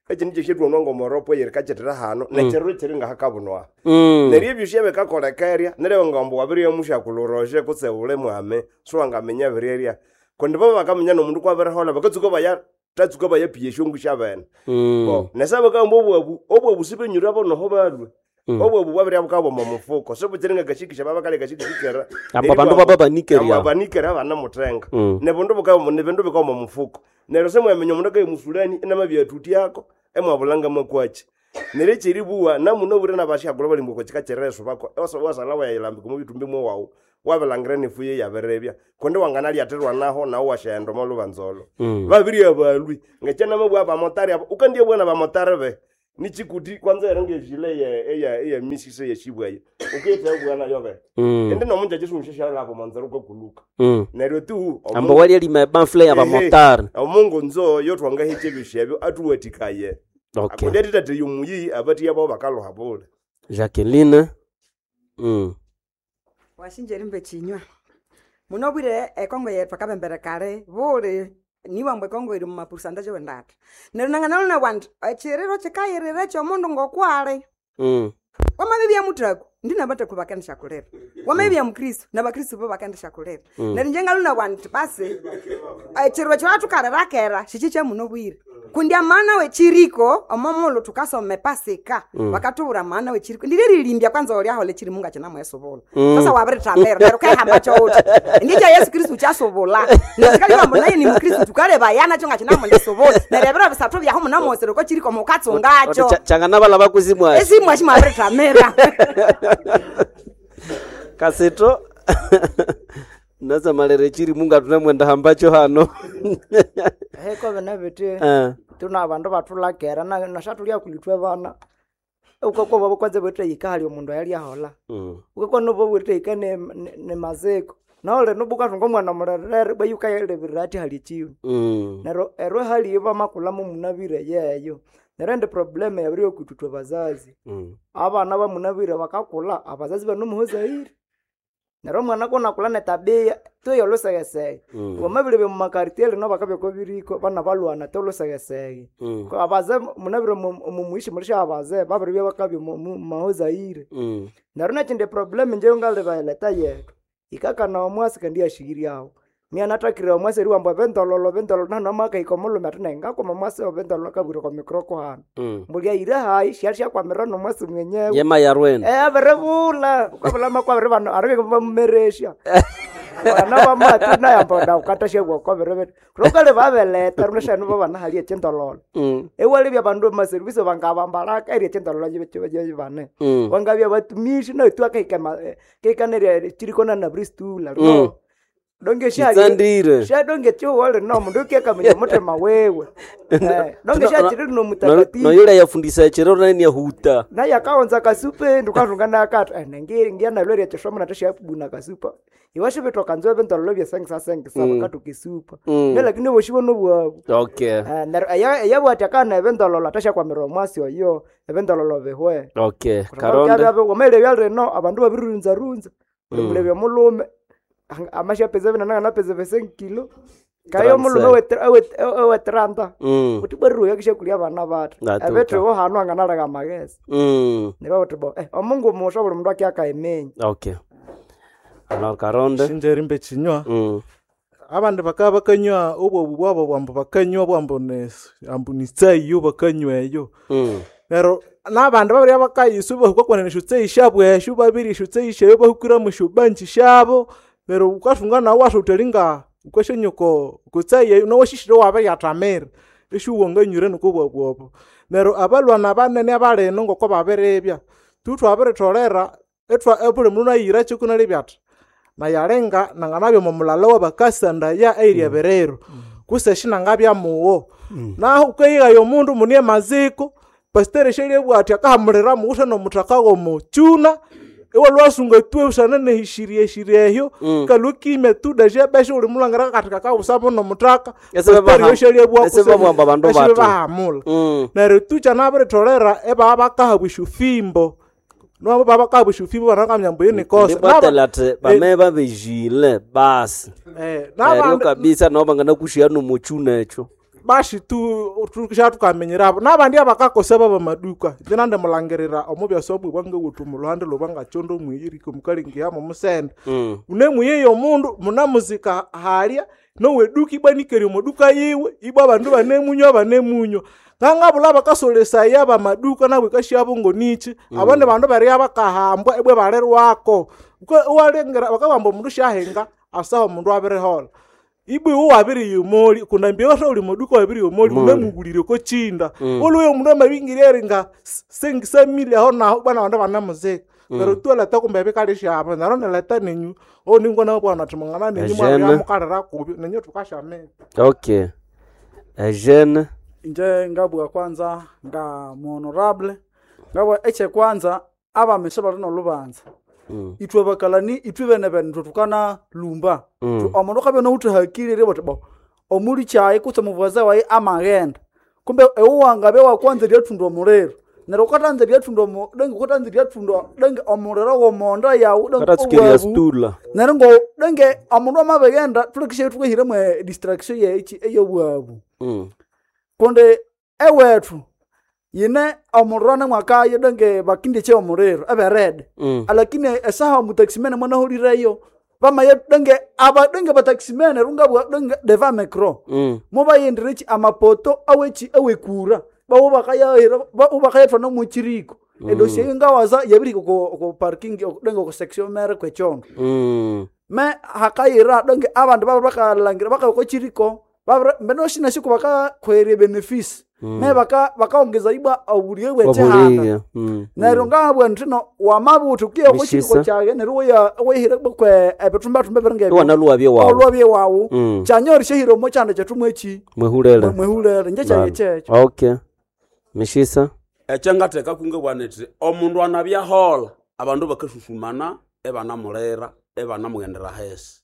ekindi kyeshetwano ngomoropo yerikakyetera hano. Mm. Nekiriro kiri ngahakabunwa. Mm. Neryo ebyo syebikakolekerya neryo ngambu wabirya mushakulhu kutse ule mwame siwangaminya biryerya kundi bo bakaminya nomundu kwabiriholha bakatsuka baya tatsuka bayapiya esyongu syabene. Mm. Bo nesa bakamba obwabu obwabu sibenyura bonoho balwe. Mm. Obwabu bwabirya bukabwa omo mufuko sibukyiri ngakashikisha babakali kashikishikira. Abo bandu baba banikeria. Abo banikera banamutenga. Mm. Nebindu bukabwa nebindu bikabwa omo mufuko neryo simwaminya omundu akaye musulani inamabyathutyako emwabulanga makwachi. Neryo ekyeribuwa namuno bure nabashakulha bali mboko kika kyereso bako wasala wayilambika omu bitumbi mwewawu wabilangira nefuye yabirebya kundi wanganalyathirwa naho nawu washaghenda omo lubanzolo. Mm. Babiri abalwi ngekyanamabugha abamotari abo ukandyabugha nabamotari be nichikuti kwanza ero ngejile ye eya eya misise yeshibwayo ukiyitha nayo be. Mm. Ende nomunja chisungu monzero kwakuluka. Mm. Neryo tu Ambo walyalima ebamfule y'abamotari. Omungu nzo yotwangahiche ebishu ebyo atuwatikaye. Okay. Akundi atithathe yomuyi abatiya babo bakaloha bule. Jacqueline. Mm. Washinja erimba ekinywa muno bwire ekongo yetu akabembere kale buli niwambwa ekongo iri mumapurusanta wendata neryo nanganalona bwandi ekiriro kikayirira ekyomundu ngokwali. Mm. Wamabibya muthaku ndi nabathaku bakendishakulira wamabibya mukristu nabakristu bo bakendishakulira. Mm. Neryo inje ngaluna bwandi basi ekiriro ekyowathukalira kera shiki kyamuno bwire kundi amana wechiriko omo mulu tukasoma epasika. Mm. Bakatubura amana wechiriko ndilirilimbya kwanza olyahola echirimu nga kinamwesubula. Mm. Sasa wabirithamira neryo ukahamba kyowuthi ndikya Yesu Kristu kyasubula neryo naye ni mukristu tukaleba nakyo nga kinamundisubula neryo ebiro bisathu byaho munamwosere oko chiriko mukatsungakyo. Changanabalaba kusimwashi. Esimwashi mwabirithamira. Kasito nasamalere chiri munga tunamwenda hambacho hano. Heko bene biti Eh. tuna abandu bathulakera na nashathulia kulithwe bana ukakwa babo kwanza bwethe hali omundu ayalyahola. Mm. Ukakwa nobo bwethe ne, ne, ne maziko naole nobo kathunga omwana mulherere bwa yukayalebirira athi hali ekiyu. Mm. Neryo eryo hali bamakulamu munabire yeyo neryo endi problem yabiri yokwithwithwa bazazi. Mm. Abana bamunabire bakakulha abazazi banomuhozaire neryo omwana konakulha netabia tuyo olusegesege. Mm. Wamabiribya mumakaritier lino bakabya okobiriko bana balwana te olusegesege. Mm. Ko abaze munabire mumuishi mulisha abaze babiribya bakabya mumahozaire. Mm. Neryo nekindi problem inje ngalibayileta yetu ikakana omwasi kandi yashighiryawo myanathakire omwasi eriwamba ebindololo bindololo nahano amakahika omulhume athi nayi ngakoma omwasi obindololo akabwira okwa mikroko hano. Mm. Mbulya hayi syali syakwamirira nomwasi mwenyewe. Yema yarwene. Eh abiribulha ukabulha makwabiri bano arike bamumeresya bana bamatu nayamba ndawukatha syabwa biribiri rukali babeletha runashanu babana hali ekyindololo. Mm. Ewalebya abandu bamaservice bangabambalaka eri ekyindololo bane. Mm. Wangabya batumishi naithu akahika kahika nerya chiriko na nabristula Mm. donge Chitsandire. sha donge chiwole no mundu ukiakamenya muthima wewe. Eh, donge shachiri no mutakatifu. Noyula yafundisa echiro nani yahuta. Naye akaonza kasupe ndukathunga nakatha eh, nengiri ngiyanalwerya kyishomo nathashyabuna kasupa iwashibithoka nzwe ebindololo byesengisa-sengisa Mm. bakathuka esupa. Mm. Ne lakini oboshibo nobwabu. Okay. Eh, neryo eya- eyabwati akana ebindololo athasyakwamira omwasi oyo ebindololo bihwe. Okay. Karonde. Wamalebya lino abandu babirirunzarunza Mm. mulebya omulhume amasyapeza binana nganapeza besenkilo kayo omulhume Transfer. ewetranta Mm. uthi bweriro yakishakulya abana bathu Ngatuka. ebethu hanu anganaleka amagezi. Mm. Neryo bathi bo eh, omungu musha buli mundu akyakaiminya. Okay. Alors Karonde. Shinje rimbe chinywa. Mm. Abandu bakaba bakanywa obwobu bwabo bwambu bakanywa bwambu ne ambu ni tsayi bakanywa eyo. Mm. Neryo n'abandu babiri abakayisu bahukakwana nesyo tsayi syabo esyo babiri esyo tsayi syayo bahukira mu syobanji syabo neryo wukathunga nawu wasuthalinga wukasyanyuko kutsayi eyo nawashishire wabiriyathamira esyu wanganywire nuko bwabwobo. Neryo abalwana banene abalino ngoko babiribya tu thwabiritholera ethwa buli mundu nayira kyo kunalibya athi nayalinga nanganabya omo mulala wabakasandaya eyiri ebiriro kuse shinangabya mugho. Naho wukayighaya omundu mune amaziko pasiteri syalyabugha athi akahamulira mughuthe nomuthaka womukyuna iwalwasunga tu busana nehishirya eshirya ehyo. Mm. Kalwa kimya tu deja besha uli mulangira kathi kakawusamo nomuthaka. Ese Pasiteri babaha- yosyalyabuwa ese babamba abandu ese bathu. bahamula. Mm. Neryo tu kyanabirитholera ebaba bakahabwa esyofimbo nabo baba bakahabwa esyofimbo banakamya ambu yinikosa Ndibwatela athi bame babejile basi. Eh, Neryo n'abandu kabisa nabo banganakushia nomuchuna ekyo. bashi tu tushatukamenyerabo n'abandi abakakosa baba maduka nje nandimulangirira omu byasobwe bwangawuthu muluhande lobwangachondo mwiyiriko mukalingiyamo musende. Mm. Unemuyeyo omundu munamuzika halya noweduka ibwanikere omuduka yiwe ibwa abandu banemunywa banemunywa ngangabula bakasolesaya bamaduka nabo ikashyabo ngonichi. Mm. Abandi bandu barya bakahambwa ibwe balirwako. Uka- iwalengera bakabamba omundu syahinga asaho omundu abirihola. Ibwe iwe wabiri yomoli kunambia wasa uli moduka wabiri yomoli Moli. unamugulire ko chinda Mm. oluye omundu amabingirya eringa sengisa mili aho naho bwana bandu banamuzika Mm. neryo tualeta kumbe ebikali syabo neryo nileta nenyu oningona bwana ati mungana nenyu Ejene. mwabyamukalira kubi nenyu tukashamira Okay. Eugene Inje ngabwa kwanza nga muhonorable ngabwa eche kwanza abamese bali nolubanza Mm. ithwe bakalani ithwe bene bene ithwe tukana lumba Mm. Tu- omundu akabya nowuthahakirire buthi bo omuli kyayi kutse omuvuwaza wayi amaghenda kumbe ewu wangabya wakwanza eryathunda omuliro neryo wukatanza eryathunda omu- denge wukatanza eryathunda denge omuliro womonda yawu denge Karatsukeria owabu. stula. neryo ngo denge omundu amabighenda thulekisye thukahiramo edistraction yechi eyobwabu Mm. kundi ewethu yine omuliro nemwakayo denge bakindikye omuliro eberede Mm. alakini esaha omutaximene mwanaholireyo bamaye denge aba denge bataximene rungabwa denge deva micro Mm. mubayendirechi amapoto awechi awekura bawo bakayahira bakayethwana muchiriko Mm. edosi eyo ngawaza yabiriko ko ko parking denge ko section mere kwechondo Mm. me hakayira denge abandu babiri bakalangira bakayoko chiriko babiri mbeno shinashiko bakakhwerya benefisi Mm. me baka bakaongeza ibwa obuliye bwechihanda Obuliye. Mm. neryo ngabwa ntino wamabuthi ukiya ko chiriko Mishisa. kyage neryo weya wehire kwe ebithumbathumba ebiringa ebyo. Iwanaluwabye wawu. Olwabye wawu Mm. kyanyorisha hiro mo kyanda kyethu mwechi Mwehulele. mwehulele nje kyage Bana. kyekyo Okay. Mishisa. ekyangatheka kungabwana iti omundu anabyahola abandu bakasusumana ebanamulira ebanamughendera hesi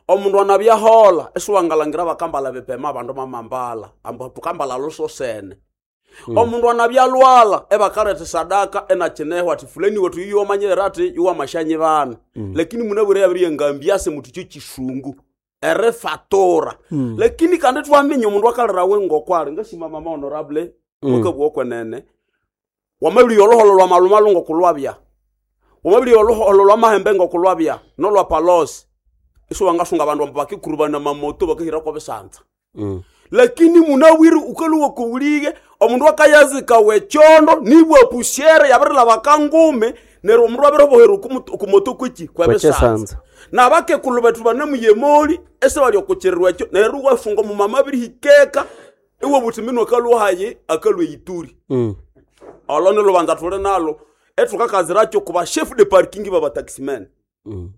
omundu anabyahola esiwangalangira bakambala bipema abandu mamambala ambu tukambala lusosene Mm. omundu anabyalwala ebakaletha sadaka enakinehwa ati fulani wethu yuyu wamanyirira ati yuwamashanyi bana Mm. lakini munabwire yabiriya ngambiase muti kyo kisungu erifatura Mm. lakini kandi twaminya omundu akalirawe ngokwali ngasima mama honorable Mm. wakabwa okwenene wamabiriya oluholo lwa malumalu ngokulwabya wamabiriya oluholo lwa mahembe ngokulwabya nolwa palosi isiwangasunga abandu ambu bakikurubana mamoto bakahirako bisanza Mm. lakini munawiri ukaluwa kuwulige omundu akayazika wechondo nibwa pusyere yabirilaba kangume neryo omundu abiribohera okumoto kweki kwebisanza Kwechisanza. nabakekulu bethu banamuyemoli ese bali okuchirirwa ekyo neryo wafunga omumama abirihikeka iwe buthi minwe akalwa hayi akalwa eyituri Mm. olo nilubanza thuli nalo ethukakaziracyo kuba chef de parking babataximen Mm.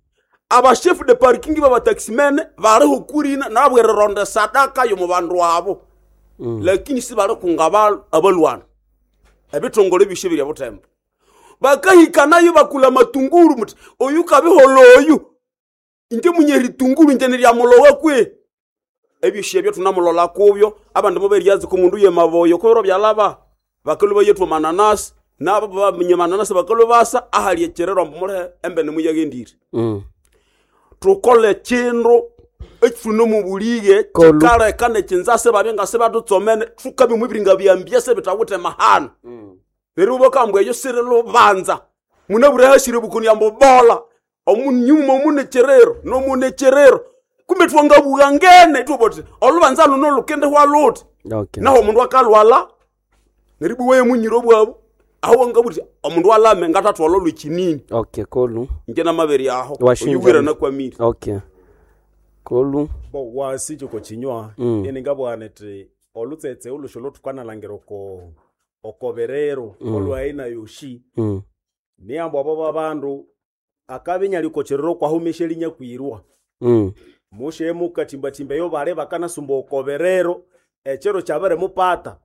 aba chef de parking babataximen baliho kurina nabwerironda sadaka yomu bandu abo Mm. lakini sibalikunga aba- abalwana ebithongole byoshe birya butembo bakahikanayo bakula matunguru muthi oyu kabihola oyu inje munyeritunguru inje niryamulowa kwe ebyoshi ebyo tunamulola kubyo abandu muberyazi kumundu yemaboyo kubiro byalaba bakalu bayethu mananasi nabo baminye mananasi bakalu basa ahali ekyererwa mbu mulehe embene muyagendire Mm. tukole kindu ekifune mubulige Kolu. kikaleka nekinzase babye nga sibatutsomene tukabimwe ebiringa byambyase bitawithe mahano neryo bakambwa eyo siri lubanza munabure hashire bukoni ambu bola omunyuma omunecherero nomunecherero kumbe twangabuka ngene tuboti olubanza luno lukendehwa luthi Okay. naho omundu akalwala neryo ibwa munyiro bwabu aho wangabuthi omundu alame ngatatwala olwekinini Okay, kolu. inje namabere aho Washinja. oyuwira nakwamire Okay. Kolu. Bo wasi ko chinywa Mm. ene ngabwana iti olutsetse olusho lotukanalangira oko okoberero Mm. olwaina yoshi Mm. niambo abo babandu akabinya likocherero kwahumesha linya kwirwa Mm. mushe mukatimbatimba eyo bale bakanasumba okoberero echero kyabere mupata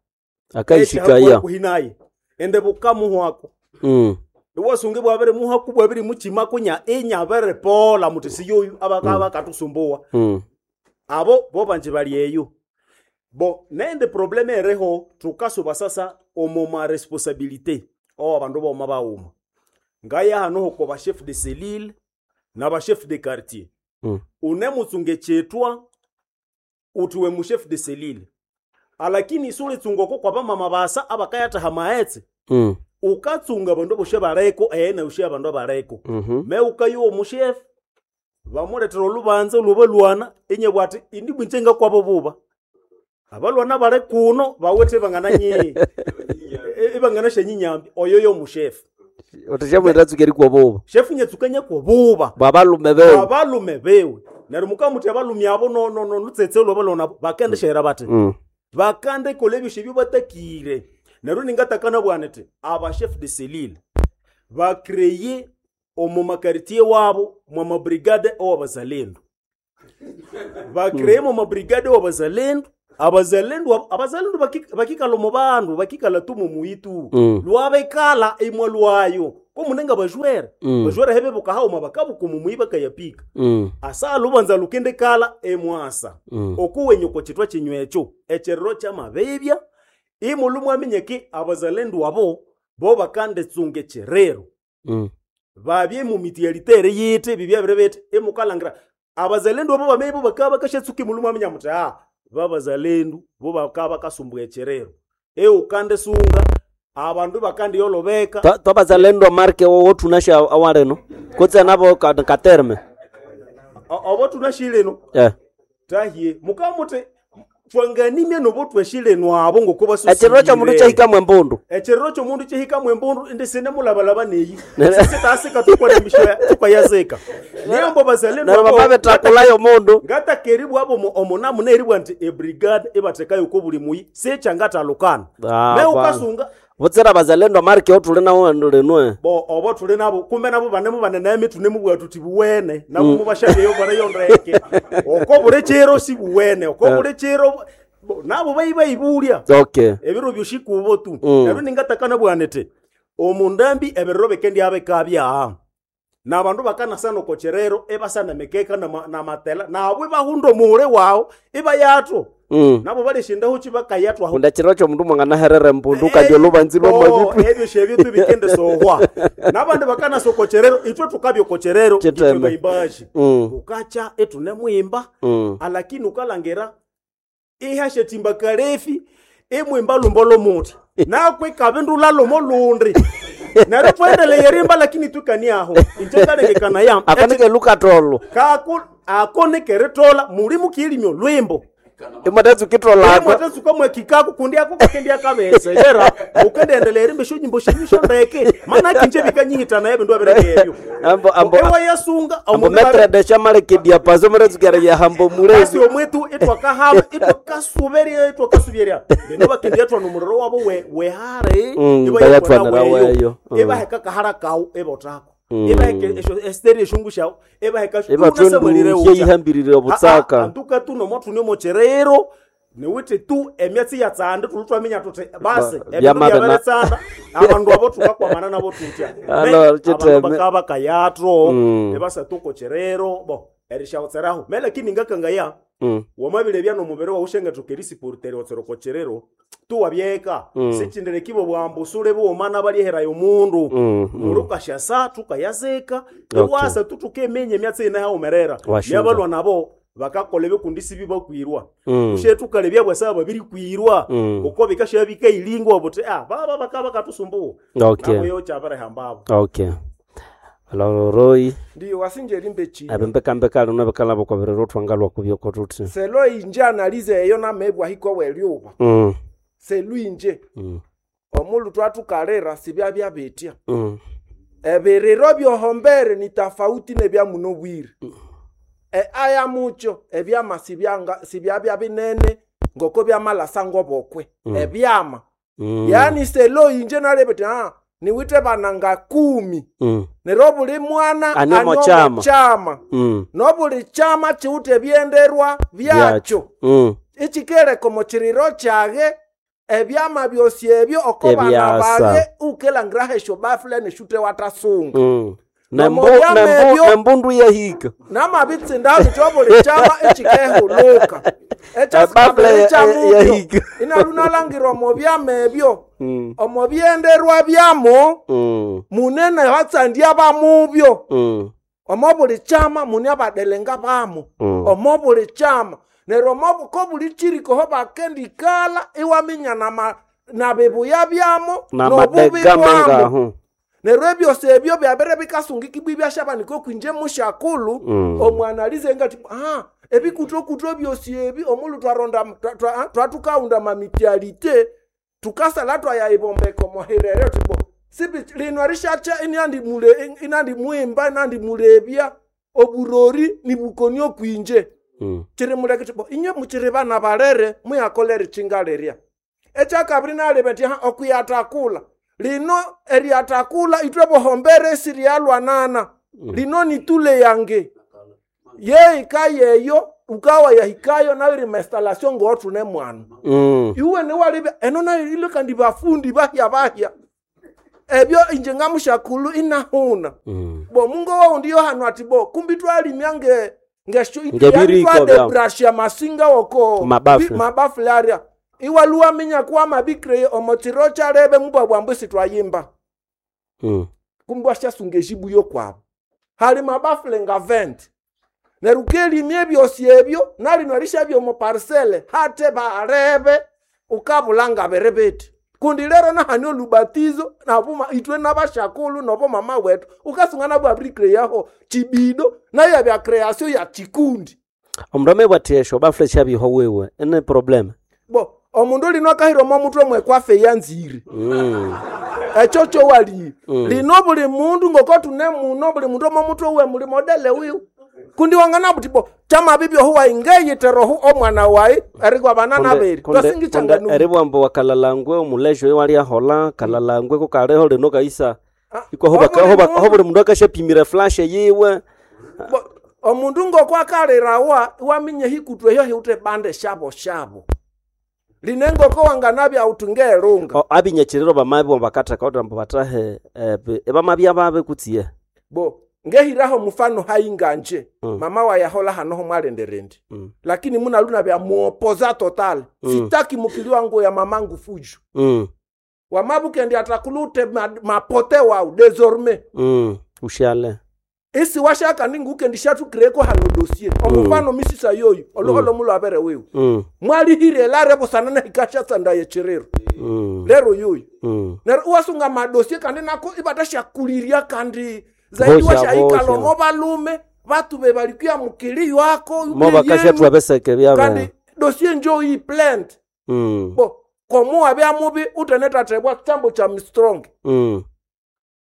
Akaishikaya. kuhinaye ende bukamuhwako Mm. iwasunge bwabere muhaku bwabere muchima kunya inyabere pola muti siyoyu abakaba Mm. bakatusumbuwa Mm. abo bo banje bali eyo bo nende probleme ereho tukasuba sasa omo ma responsabilité o abandu boma bauma ngaya hano hoko ba chef de cellule na ba chef de quartier Mm. une mutsunge chetwa utiwe mu chef de cellule alakini isule tsungoko kwa bamama basa abakayataha maetse Mm. ukatsunga bandu boshe bareko ene ushe abandu abareko Mhm. me ukayiwa omushefu bamuletera olubanza olwobalwana inye bwati indi bwinjenga kwabo buba abalwana bale kuno bawethe bangana nyi ibangana shenyinyambi oyo yo mushefu Otashamwenda tsukeri kwa boba. shefu nyetsukanya kwa buba Babalume bewe. babalume bewe Neryo mukamuthi abalumi abo no no no lutsetse lwabalwa nabo bakendishera bati Mm. bakandekola ebyosi ebyo batakire. Neryo ningatakana bwana nti aba chef de cellule bakreye omu makaritier wabo mwa mabrigade owabazalendo bakreye mu mabrigade owabazalendo abazalendo abo- abazalendo baki- bakikala omu bandu bakikala tu mu muyitu Mm. lwabekala imwa lwayo komunenga bajwere Mm. bajwere hebe bukahauma bakabuka omu muyi bakayapika Mm. asa lubanza lukendekala emwasa Mm. okuwenye oko chitwa chinyu ekyo ekyerero kyamabebya imulu mwaminyeki abazalendu abo bo bakandetsunga ekyerero Mm. babye mu mitialitere yiti bibyabire biti imukalangira abazalendu abo bameibo bakaba bakashatsuka imulu mwaminya muti ah babazalendu bo bakaba bakasumbua ekyerero eukandesunga abandu bakandiyolobeka Twa- twabazalendo marke wowo tunasha awaleno kutse nabo ka- katerme O- obo tunashileno eh tahie mukamuti twanganimye nobo tweshileno abo ngokuba Ekiriro ky'omundu kyahikamu embundu. Ekiriro ky'omundu kyahikamu embundu indi sine mulabalaba neyi sisitasika tukwanamisha tukwayazika niyo mbo bazalendo Neryo abo- bamabitakulayo omundu. ngatakeribwa abo omu- omunamu neribwa nti ebrigade ibathekayo ko buli muyi sikyangatalukana Ah, me bwana. ukasunga Butsira abazalendo marke otuli nawo lenwe bo obo tuli nabo kumbe nabo banemu banene tunemu tuti buwene nabo Mm. mubashabyeyo barayo ndeke oko buli kiro si buwene oko Eh. buli kiro bo- nabo bayibayibulya Okay. ebiro byoshikubo tu Mm. neryo ningatakana bwana ti omundambi ebiriro bikendiyabekabya nabandu bakanasana oko kirero ibasana emikeka nama- namatela nabo ibahunda omuhule wawu ibayatwo Mm. nabo baleshindaho kibakayatwaho Kunda chiro kyomundu mwanganaherera embundu kandi olubanzi Oh, lwamabitu ebyo shebyo tubikendesohwa nabandi bakanasokocherero itwe tukabyokocherero itwe Chiteme. baimbaji Mm. ukacha itunemwimba Mm. alakini ukalangera ihashetimba kalefi imwimba lumbo lomuti nakwikaba indula lomo lundi neryo twendeleye rimba lakini twikaniaho inje kalengekana yam Akanike lukatolo kako ako nikeritola muli mukilimyo lwimbo imwatatsukitrolako imwatatsuka mwekikako kundi ako kakendia kabesa era ukendendelera erimba esyo nyimbo shenyu shondeke mana kinje bikanyihitana ebindu abiregebyo ambo ambo ewa yasunga ambo metre de chamalekedia pazo muratsukera ya hambo kasi mulezi omwetu itwakahaba itwakasuberya itwakasuberya bino bakendia twana omuriro wabo we- wehare Mm, iba bayatwanira yakwana weyo. weyo. Mm. ibaheka kahara kawu ibotako Mm. ibaheka esyo- esiteri eshungu shawu ibaheka Ibatwendu yeihambirire obutsaka antuka tuno mwathune mocherero niwuthi tu emyatsi yatsanda tuli twaminya tuthi basi Ba- ebindu byamabena- byabiritsanda abandu abo tukakwamana nabo tutya Alo, chiteme. bakaba kayatro Mm. ebasatukocherero bo erishawutseraho me lakini ngakangaya Mm. wamabire nomubiri wawu shengathoka erisiporutera otserokocherero tuwabyeka Mm. sichindire kibo bwambu sule buwomana balyeherayo omundu Mm, mm. muli ukashasa tukayazika Okay. iwasa tutukemenya emyatsi ine haumerera Washinja. nyabalwa nabo bakakola ebikundi sibi bakwirwa Mm. ushe tukalebya bwasaba babirikwirwa Mm. uko bikasha bikailingwa buti ah baba bakaba katusumbuwa Okay. nabo yo kyabirihambabo Okay. Aloroi ndiyo wasinje rimbe chini abembekambeka luno bekala bokoberera otwangalwa kubyoko tuti selo inje analize eyo namebwa hiko welyuba Mm. selu inje Mm. omulu twatukalera sibyabya bitya Mm. ebiriro byohombere ni tafauti nebya muno bwire e aya mucho ebyama sibyanga sibyabya binene ngoko byamalasa ngobokwe Mm. ebyama Mm. yaani selo inje nalebete ah niwite bananga kumi Mm. nero buli mwana Ani omo chama. chama Mm. nobuli chama chiwute ebyenderwa byakyo Mm. ichikeleka omu kiriro kyage ebyama byosi ebyo oko bana Ebyasa. bage ukelangiraho esyo bafule neshute watasunga Mm. Nomo Nembu- byama nembu- ebyo- nembundu yahika namabitsinda bityo buli chama ichikehuluka Ebafule ekyasikabiri ya- kyamukyo yahika. inalunalangira omu byama ebyo Mm. omu byenderwa byamo Mm. munene hatsandya bamubyo Mm. omo buli chama mune abadelenga bamo Mm. omo buli chama neryo omo ko buli chiriko ho bakendikala iwaminya nama nabibuya byamo nobubi Namadega bwamo mangahu. neryo ebyosi ebyo byabere bikasungikibwa ibyashabanika okwinje mushakulu Mm. omwanalize ngati ah ebikutokuto byosi ebi omulu twaronda twa- twa- twatukaunda mamitialite tukasala twayayibombeka omoherere tibo sibi lino rishacha inandimule inandimwimba inandimulebya Oburori ni bukoni okwinje. Mm. Chiri muleke tipo inye muchiri bana balere muyakolere chingaleria. Ekyakabiri nalebe nti ha okuyatakula. Lino eriatakula itwe bohombere sirialwanana. Lino nitule yange. Ye ikayeyo ukawa yahikayo nayo iri installation ngotune mwana. Mm. Iwe newalebe eno nayo ile kandi bafundi bahya bahya. Ebyo inje ngamushakulu inahuna. Mm. Bo mungo wawo ndiyo hano ati bo kumbi twalimya nge ngesho Ngebiriko twade bya- brush ya masinga woko Mabafle. bi- mabafle aria iwaluwa minya kuwa mabikre omotiro charebe mubwa bwambu twayimba Mm. kumbi washasunga ejibu kwabo hali mabafle nga venti neryo ukelimya ebyosi ebyo nalino erishabya omu parcele hate barebe ukabulanga bere beti kundi lero nahani olubatizo nabuma itwe nabashakulu nobo mama wetu ukasunga nabwo abri yaho chibido nayo yabya creation ya chikundi Omundu amebwa esho bafule shabihwa wewe ene problem. bo omundu lino akahira omo mutwe mwekwafe yanzire Mm. ekyo kyowali Mm. lino buli mundu ngoko tune muno buli mundu omo mutwe uwe muli modele wiwe kundi wangana buti bo kyamabibyohu wayi ngeyiterohu omwana wayi erigwa bana naberi twasingicanganu eribwambo wakalalangwe omulejo oyo waliahola kalalangwe kukaliho lino kaisa iko hoba hoba ho buli mundu akashapimira flash yiwe omundu ngoko akalirawa iwaminye hikutu eyo hiute bande shabo shabo line ngoko wanganabya uti ngeelunga O, abinyakiriro bamabi bakatheka utambo batahe eh, bi- ebamabya babe kutsiye bo ngehiraho mufano hainganje Mm. mama wayahola hanoho mwalenderendi Mm. lakini munaluna bya muopoza total Mm. sitaki mukili wangu ya mamangu fujo Mm. wamabukendi atakulute ma, mapote wau désormais Mm. Ushale isi washaka ningukendi shatukireko hano dossier omufano misisa yoyu oluholo mulo abere wiwe Mm. mwalihire lare busanana hikashatsanda yechiriro Mm. lero yoyu Mm. neryo iwasunga madosie kandi nako ibatashakuliria kandi zaidi Bosha, washaikala bosha. omo balume batu bebalikuya mukili ywako Mo bakashathwa beseke byabe kandi dosie njo iyi plant Mm. bo komo wabya mubi utenetathebwa chambo cha mstrong Mm.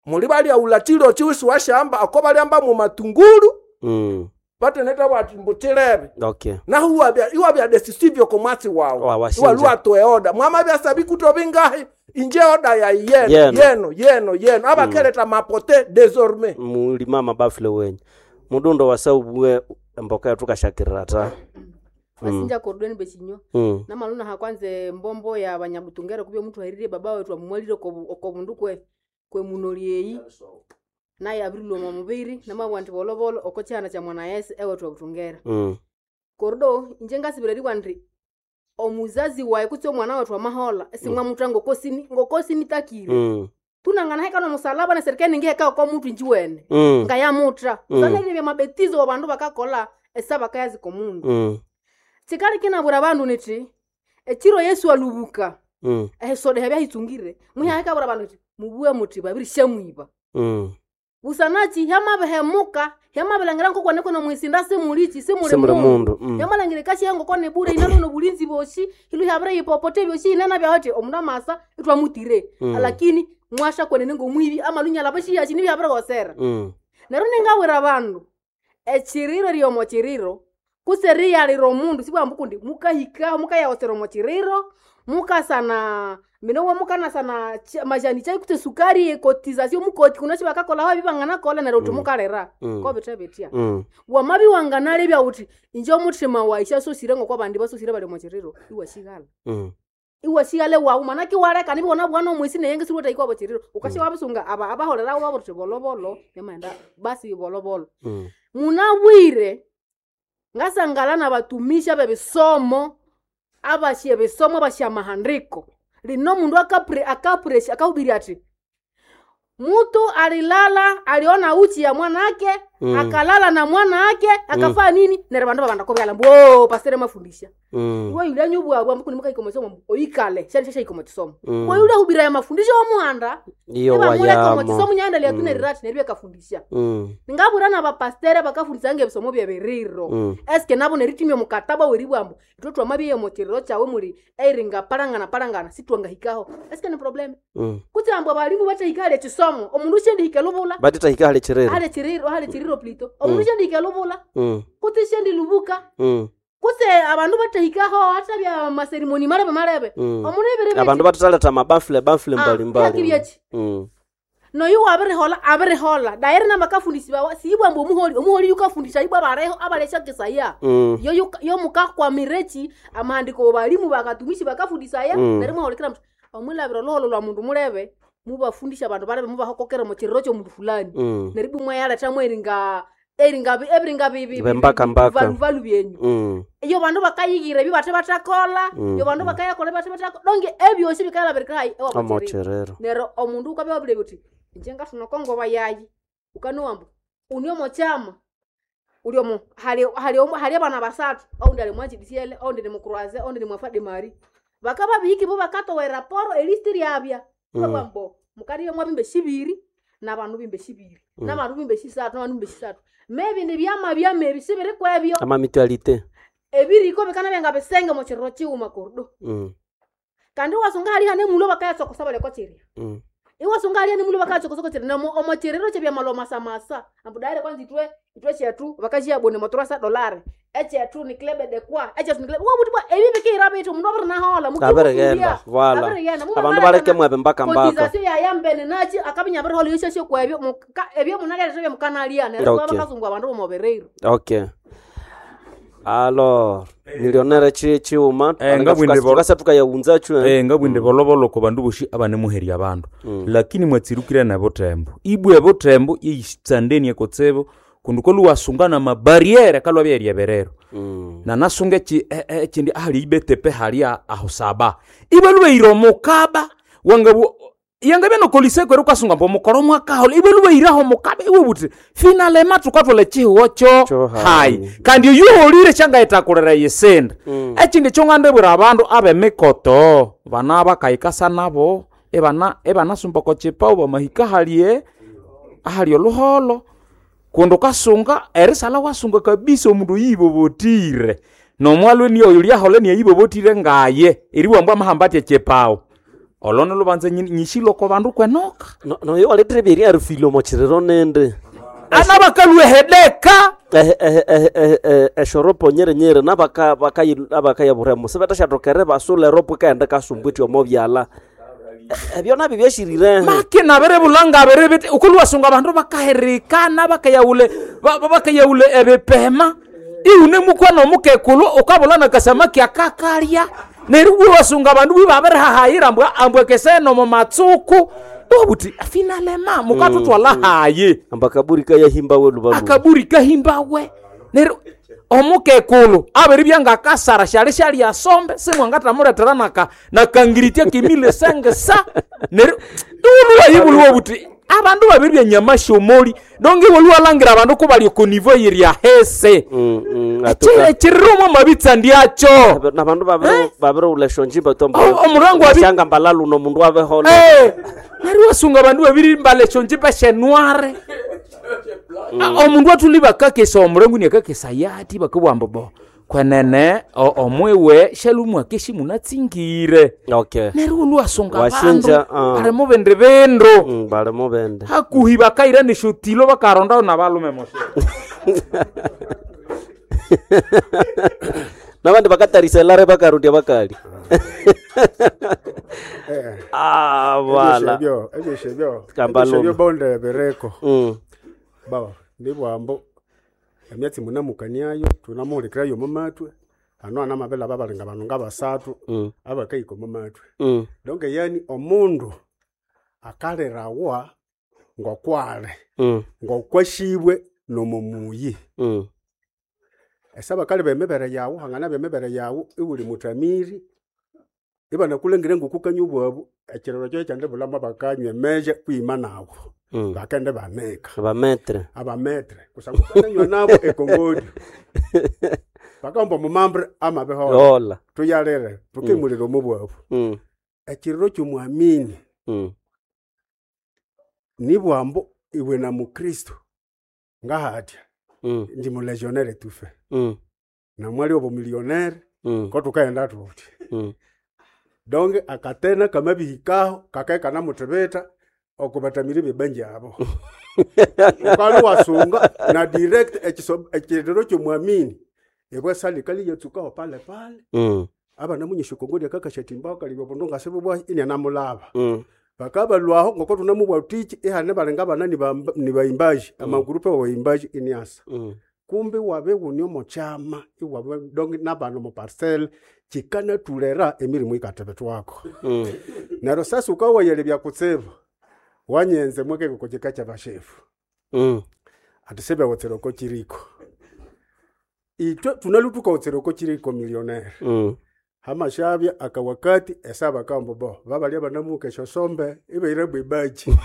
muli balyaula chilo chiwisi washamba ako balyamba mu matungulu Mm. bateneta bwati mbu chilebe Okay. nahu iwabya iwabya decisive komwatsi wawu Wa- washinja. iwaluwa oda mwama byasabi kuto bingahi inje oda ya yeno Yeno. yeno yeno yeno abakeleta mapote désormais Mulima mabafule wenyu mudundo wasaubwe emboka yetukashakirira ta Mm. Wasinja kordweni bechinywa Mm. namaluna hakwanze mbombo ya banyabutungere kubya omuntu ahirire baba wetu amumwalire okobundu kwe kwe munoli eyi naye abirilwa omo mubiri namabwa nti bolobolo oko kyihanda kya mwana yesu ewetu abutungera Mm. kordo inje ngasibira eribwa nti omuzazi wayi kutse omwana wetu amahola esimwamuthwa ngokosini ngokosinitakire Mm. tunangana heka nomusalaba na serikali ningiheka oko mutu injiwene Mm. ngayamuthra Mm. sanelile mabetizo wa bandu bakakola esabakayazika omundu Mm. chikali kinabura bandu niti echiro yesu alubuka Mm. ehisoda hyabya muhyahekabura bandu niti mubuwe muti babiri shamwiba Mm. busanachi hyamabihemuka hyamabilangira nkokwane kuno mwisinda simulichi simuli Simuli mundu mundu, mm. hyamalangire kashiya ngokwane bure inalono bulinzi boshi ilu hyabire yipopote byoshi inana byawati omundu amasa itwamutire Mm. lakini mwasha kwenene ngomwibi amalunyala bashiyashi nibyabire gosera Mm. neryo ningawira bandu echiriro ryomo chiriro kutse riyalira omundu sibwambu kundi mukahikaho mukayawosera omo chiriro mukasana minowo mukanasana ch- majani chai kutse sukari ekotizasio mukoti kuno shibakakolaho ebibanganakola neryo uthi Mm. mukalira Mm. kobithe bitya Mm. wamabi wanganalebya uthi inje omuthima wayi syasosire ngoko abandi basosire bali omo chiriro iwashighala Mm. iwashigale wawu manake iwaleka nibiwona bwana omwisi neyenge siriwethaikwa bochiriro ukasha wabisunga aba abaholerawo babuthi bolobolo nemaenda basi bolobolo Mm. munabwire ngasangala na batumisha bebisomo abashia ebisomo abashia mahandiko lino mundu akapre akapuresha akahubiri ati mutu alilala aliona uchi ya mwanake Mm. akalala na mwanake akafaa nini neryo bandu babanda kobyala mbu "Oh, pastor mafundisha Mm. iwe yulya nyubwabwa mbu kunimukahika mbu oyikale shali shashahika omu kisomo Mm. iwe yulya hubira ya mafundisho omuhanda Iyo ibamuleka omu wayamo. kisomo nyaendelea tu Mm. nerirati neryo byakafundisha Mm. ningabura na bapastere bakafundisanga ebisomo byebiriro Mm. eske nabo neritimya omukataba weribwambu itwe twamabyeya omukiriro kyawe muli eiringa palangana palangana sitwangahikaho eske ni problem Mm. kutse ambu abalimu batahikale ekisomo lwamo omundu shendihika lubula Batitahika hali chiriro. hali chiriro hali chiriro plito omundu Mm. shendihika lubula Mm. kutse shendilubuka Mm. kutse abandu batahikaho hata bya maserimoni malebe malebe Mm. omundu ibiri Abandu bataletha amabafule bafule Ah, mbalimbali. yakibyechi. Mm. noyu wabirihola abirihola dairi namakafundisi bawa siibwamba omuholi omuholi yukafundisha ibwa bareho abaleshakesaya Mm. yo yuka- yo mukakwamirechi amahandiko balimu bakatumishi bakafundisaya Mm. neryo mwahulikira muthi omwilabira oluholo lwa mundu mulebe mubafundisha abandu balebe mubahokokera mukiriro kyomundu fulani Mm. neryo ibwa mwayaletha mweringa eringa ebiringa bibi Bembaka mbaka. valuvalu byenyu Mm. iyo bandu bakayigira ebyo bathe bathakola Mm. iyo bandu bakayakola bathe bathakola donge ebyosi bikayalabirika hayi Omochiriro. neryo omundu ukabya wabulebya uthi inje ngathuna okongoba yayi ukanowa uni omokyama uli omo hali hali omo- hali abana basathu oundi ali mwanjidisiele oundi ni mukuraze oundi ni mwafade mari bakaba bihiki bo bakatowa eraporo elisti ryabya Mm. babambo mukadibe mwabimbe shibiri nabandu bimbe shibiri Mm. nabandu bimbe shisathu nabandu bimbe shisathu mebindi byama byama ebi sibiri kwebyo Ama mutualité. ebiriko bikana byenga bisenge mukiriro kiwuma kordo Mm. kandi iwasunga hali hane mulo bakayatsokosa baleko chiria Mm. iwasunga hali hane mulo bakayatsokosa chiria namo omochiriro chebyamalo masamasa ambu daire kwanza itwe itwe chetu bakashiyabone moturasa dolare echetu ni klebe de kwa echetu ni klebe wabuti bwa ebi bikira bitu mundu abirinahola Abirigenda, voilà. Abandu baleke mwebe mbaka mbaka. kotizasio yayambene nachi akabinya abirihola yoshashe kwebyo muka- ebyo munalya bya mukanalia neryo Okay. bakazungu abandu bomobereiro Okay. Alors, millionnaire chi chiuma Eh, ngabwinde bolo- tukasa tukayaunza chu. Eh, ngabwinde boloboloko bandu boshi abanemuherya abandu Mm. lakini mwatsirukire nebutembo ibwe ebutembo yeyitsandeni ekotsebo kundu koluwasunga na mabariere kalwa byeryeberero Mm. nanasunga eki- e- e- ekindi ahali ibetepe halia aho saba ibwe lubeyire omukaba wangabu yangabya nokoliseko eri ukasunga mbu omukoro mwakahola ibwe lubeyiraho omukaba iwe buti finalema tukatwala ekihiwo kyo hayi kandi oyuholire kyangayitakulira yisindi Mm. ekindi kyongandibwira abandu abemikoto bana bakayikasa nabo ebana ebanasumba kochipa bamahika halie ahali oluholo kundi ukasunga erisala wasunga kabisa omundu oyibobotire nomwalwe niyo oyo lyahole niyayibobotire ngaye eriwambwa amahamba atya echipawo olono lubanza nyi- nyishiloko bandu kwenoka No no yo waletere byeri arufile omochiriro nende. Ana bakaluehedeka. Eh eh eh eh eh eshoropo nyere nyere nabaka bakayi abakayabura musibatashatokere basula eropo kaenda kasumbwiti omo byala. Ebyo nabyo byashirire. Make nabere bulanga abere bete ukuluwasunga abandu bakaherikana bakayaule ba- ba- bakayaule ebipema iune mukwana omukekulu ukabula nakasamaki akakalya neryo bwiwasunga abandu bwibabirihahayira ambwa ambwekesene omu matsuku obuti finalema mukatutwala hayi Amba akaburi kayahimbawe lubalu. akaburi kahimbawe neryo omukekulu abiribya ngakasara syali syalya sombe simwangathamuletera naka nakangiritia kimile senge sa neryo iwuluwa buti abandu babiribya nyama shomoli donge iwoluwalangira abandu kubali okonivo yirya hese Mm, mm, ekiriro mwa mabitsa ndyacho nabandu babiri babiriwula eshonjimba tombo. omurango abi- Shanga mbalalu no mundu abehola. Eh, neryo wasunga abandu babiri mbala eshonjimba shenware Ah, omundu athuli bakakesa omurengo niakakesa yati bakabugha bo kwenene o- omwiwe shalumwake munatsingire Okay. neryo olwasunga abandu Washinja, ah. bali mubindi bindu Mm, bali mubindi. hakuhi bakaira neshotilo bakarondayo nabalume moshe Nabandi bakatarisa elare bakarudya bakali. Ah, voilà. Ebyo ebyo Kambalume. ebyo bonde bereko. Mm. Baba nibwambo emyatsi munamukaniayo tunamuhulikirayo omumatwe ano anamabela babalinga bano ngabasathu Mm. abakaika omumatwe Mm. donke yani omundu akalirawa ngokwale Mm. ngokwashibwe nomumuyi Mm. esa bakali bemibere yawu hangana bemibere yawu iwuli mutamiri ibanakulengire ngukukanywa obwabu ekiriro kyo kyandibulamo bakanywa emeje kwima nawu Mm. bakende banika Abametre. abametre kusangwa ukananywa nabo ekongodi bakamba omumambre amabihola Hola. tuyalire tukimulira omubwabu Mm. ekiriro kyomwamini Mm. nibwambo iwe na mukristo ngahatya Mm. ndi mulegionnaire tufe Mm. namwali obo millionaire Mm. ko tukaenda tuti Mm. donge akatena kamabihikaho kakae kanamuthibita Oko batamiri bebanji abo. Ukali wasunga na direct ekiso- ekiriro ky'omwamini ebwasali kali yatsukaho pale pale. Mm. Abana munyesha kongoria kakashatimba kalibwa bundu ngasibwa ini anamulaba. Mm. Bakabalwaho ngoko tunamubwa utichi ihane balenga bana ni baimbaji amagurupe wa baimbaji iniasa. Mm. Kumbe wabe wuni omo kyama iwabe dongi nabana omu parcel kikanatulera emirimu ikatebetwako. Mm. Neryo sasa ukawayele byakutsibu wanyenze mwekeko kika kyabashefu. Mm. Ati sebe wotsera kiriko. Itwe tunalutuka wotsera kiriko millionaire. Mm. Hamashabya akawakati esaba kambo bo babalya banamuka eshosombe ibeire bwibaji.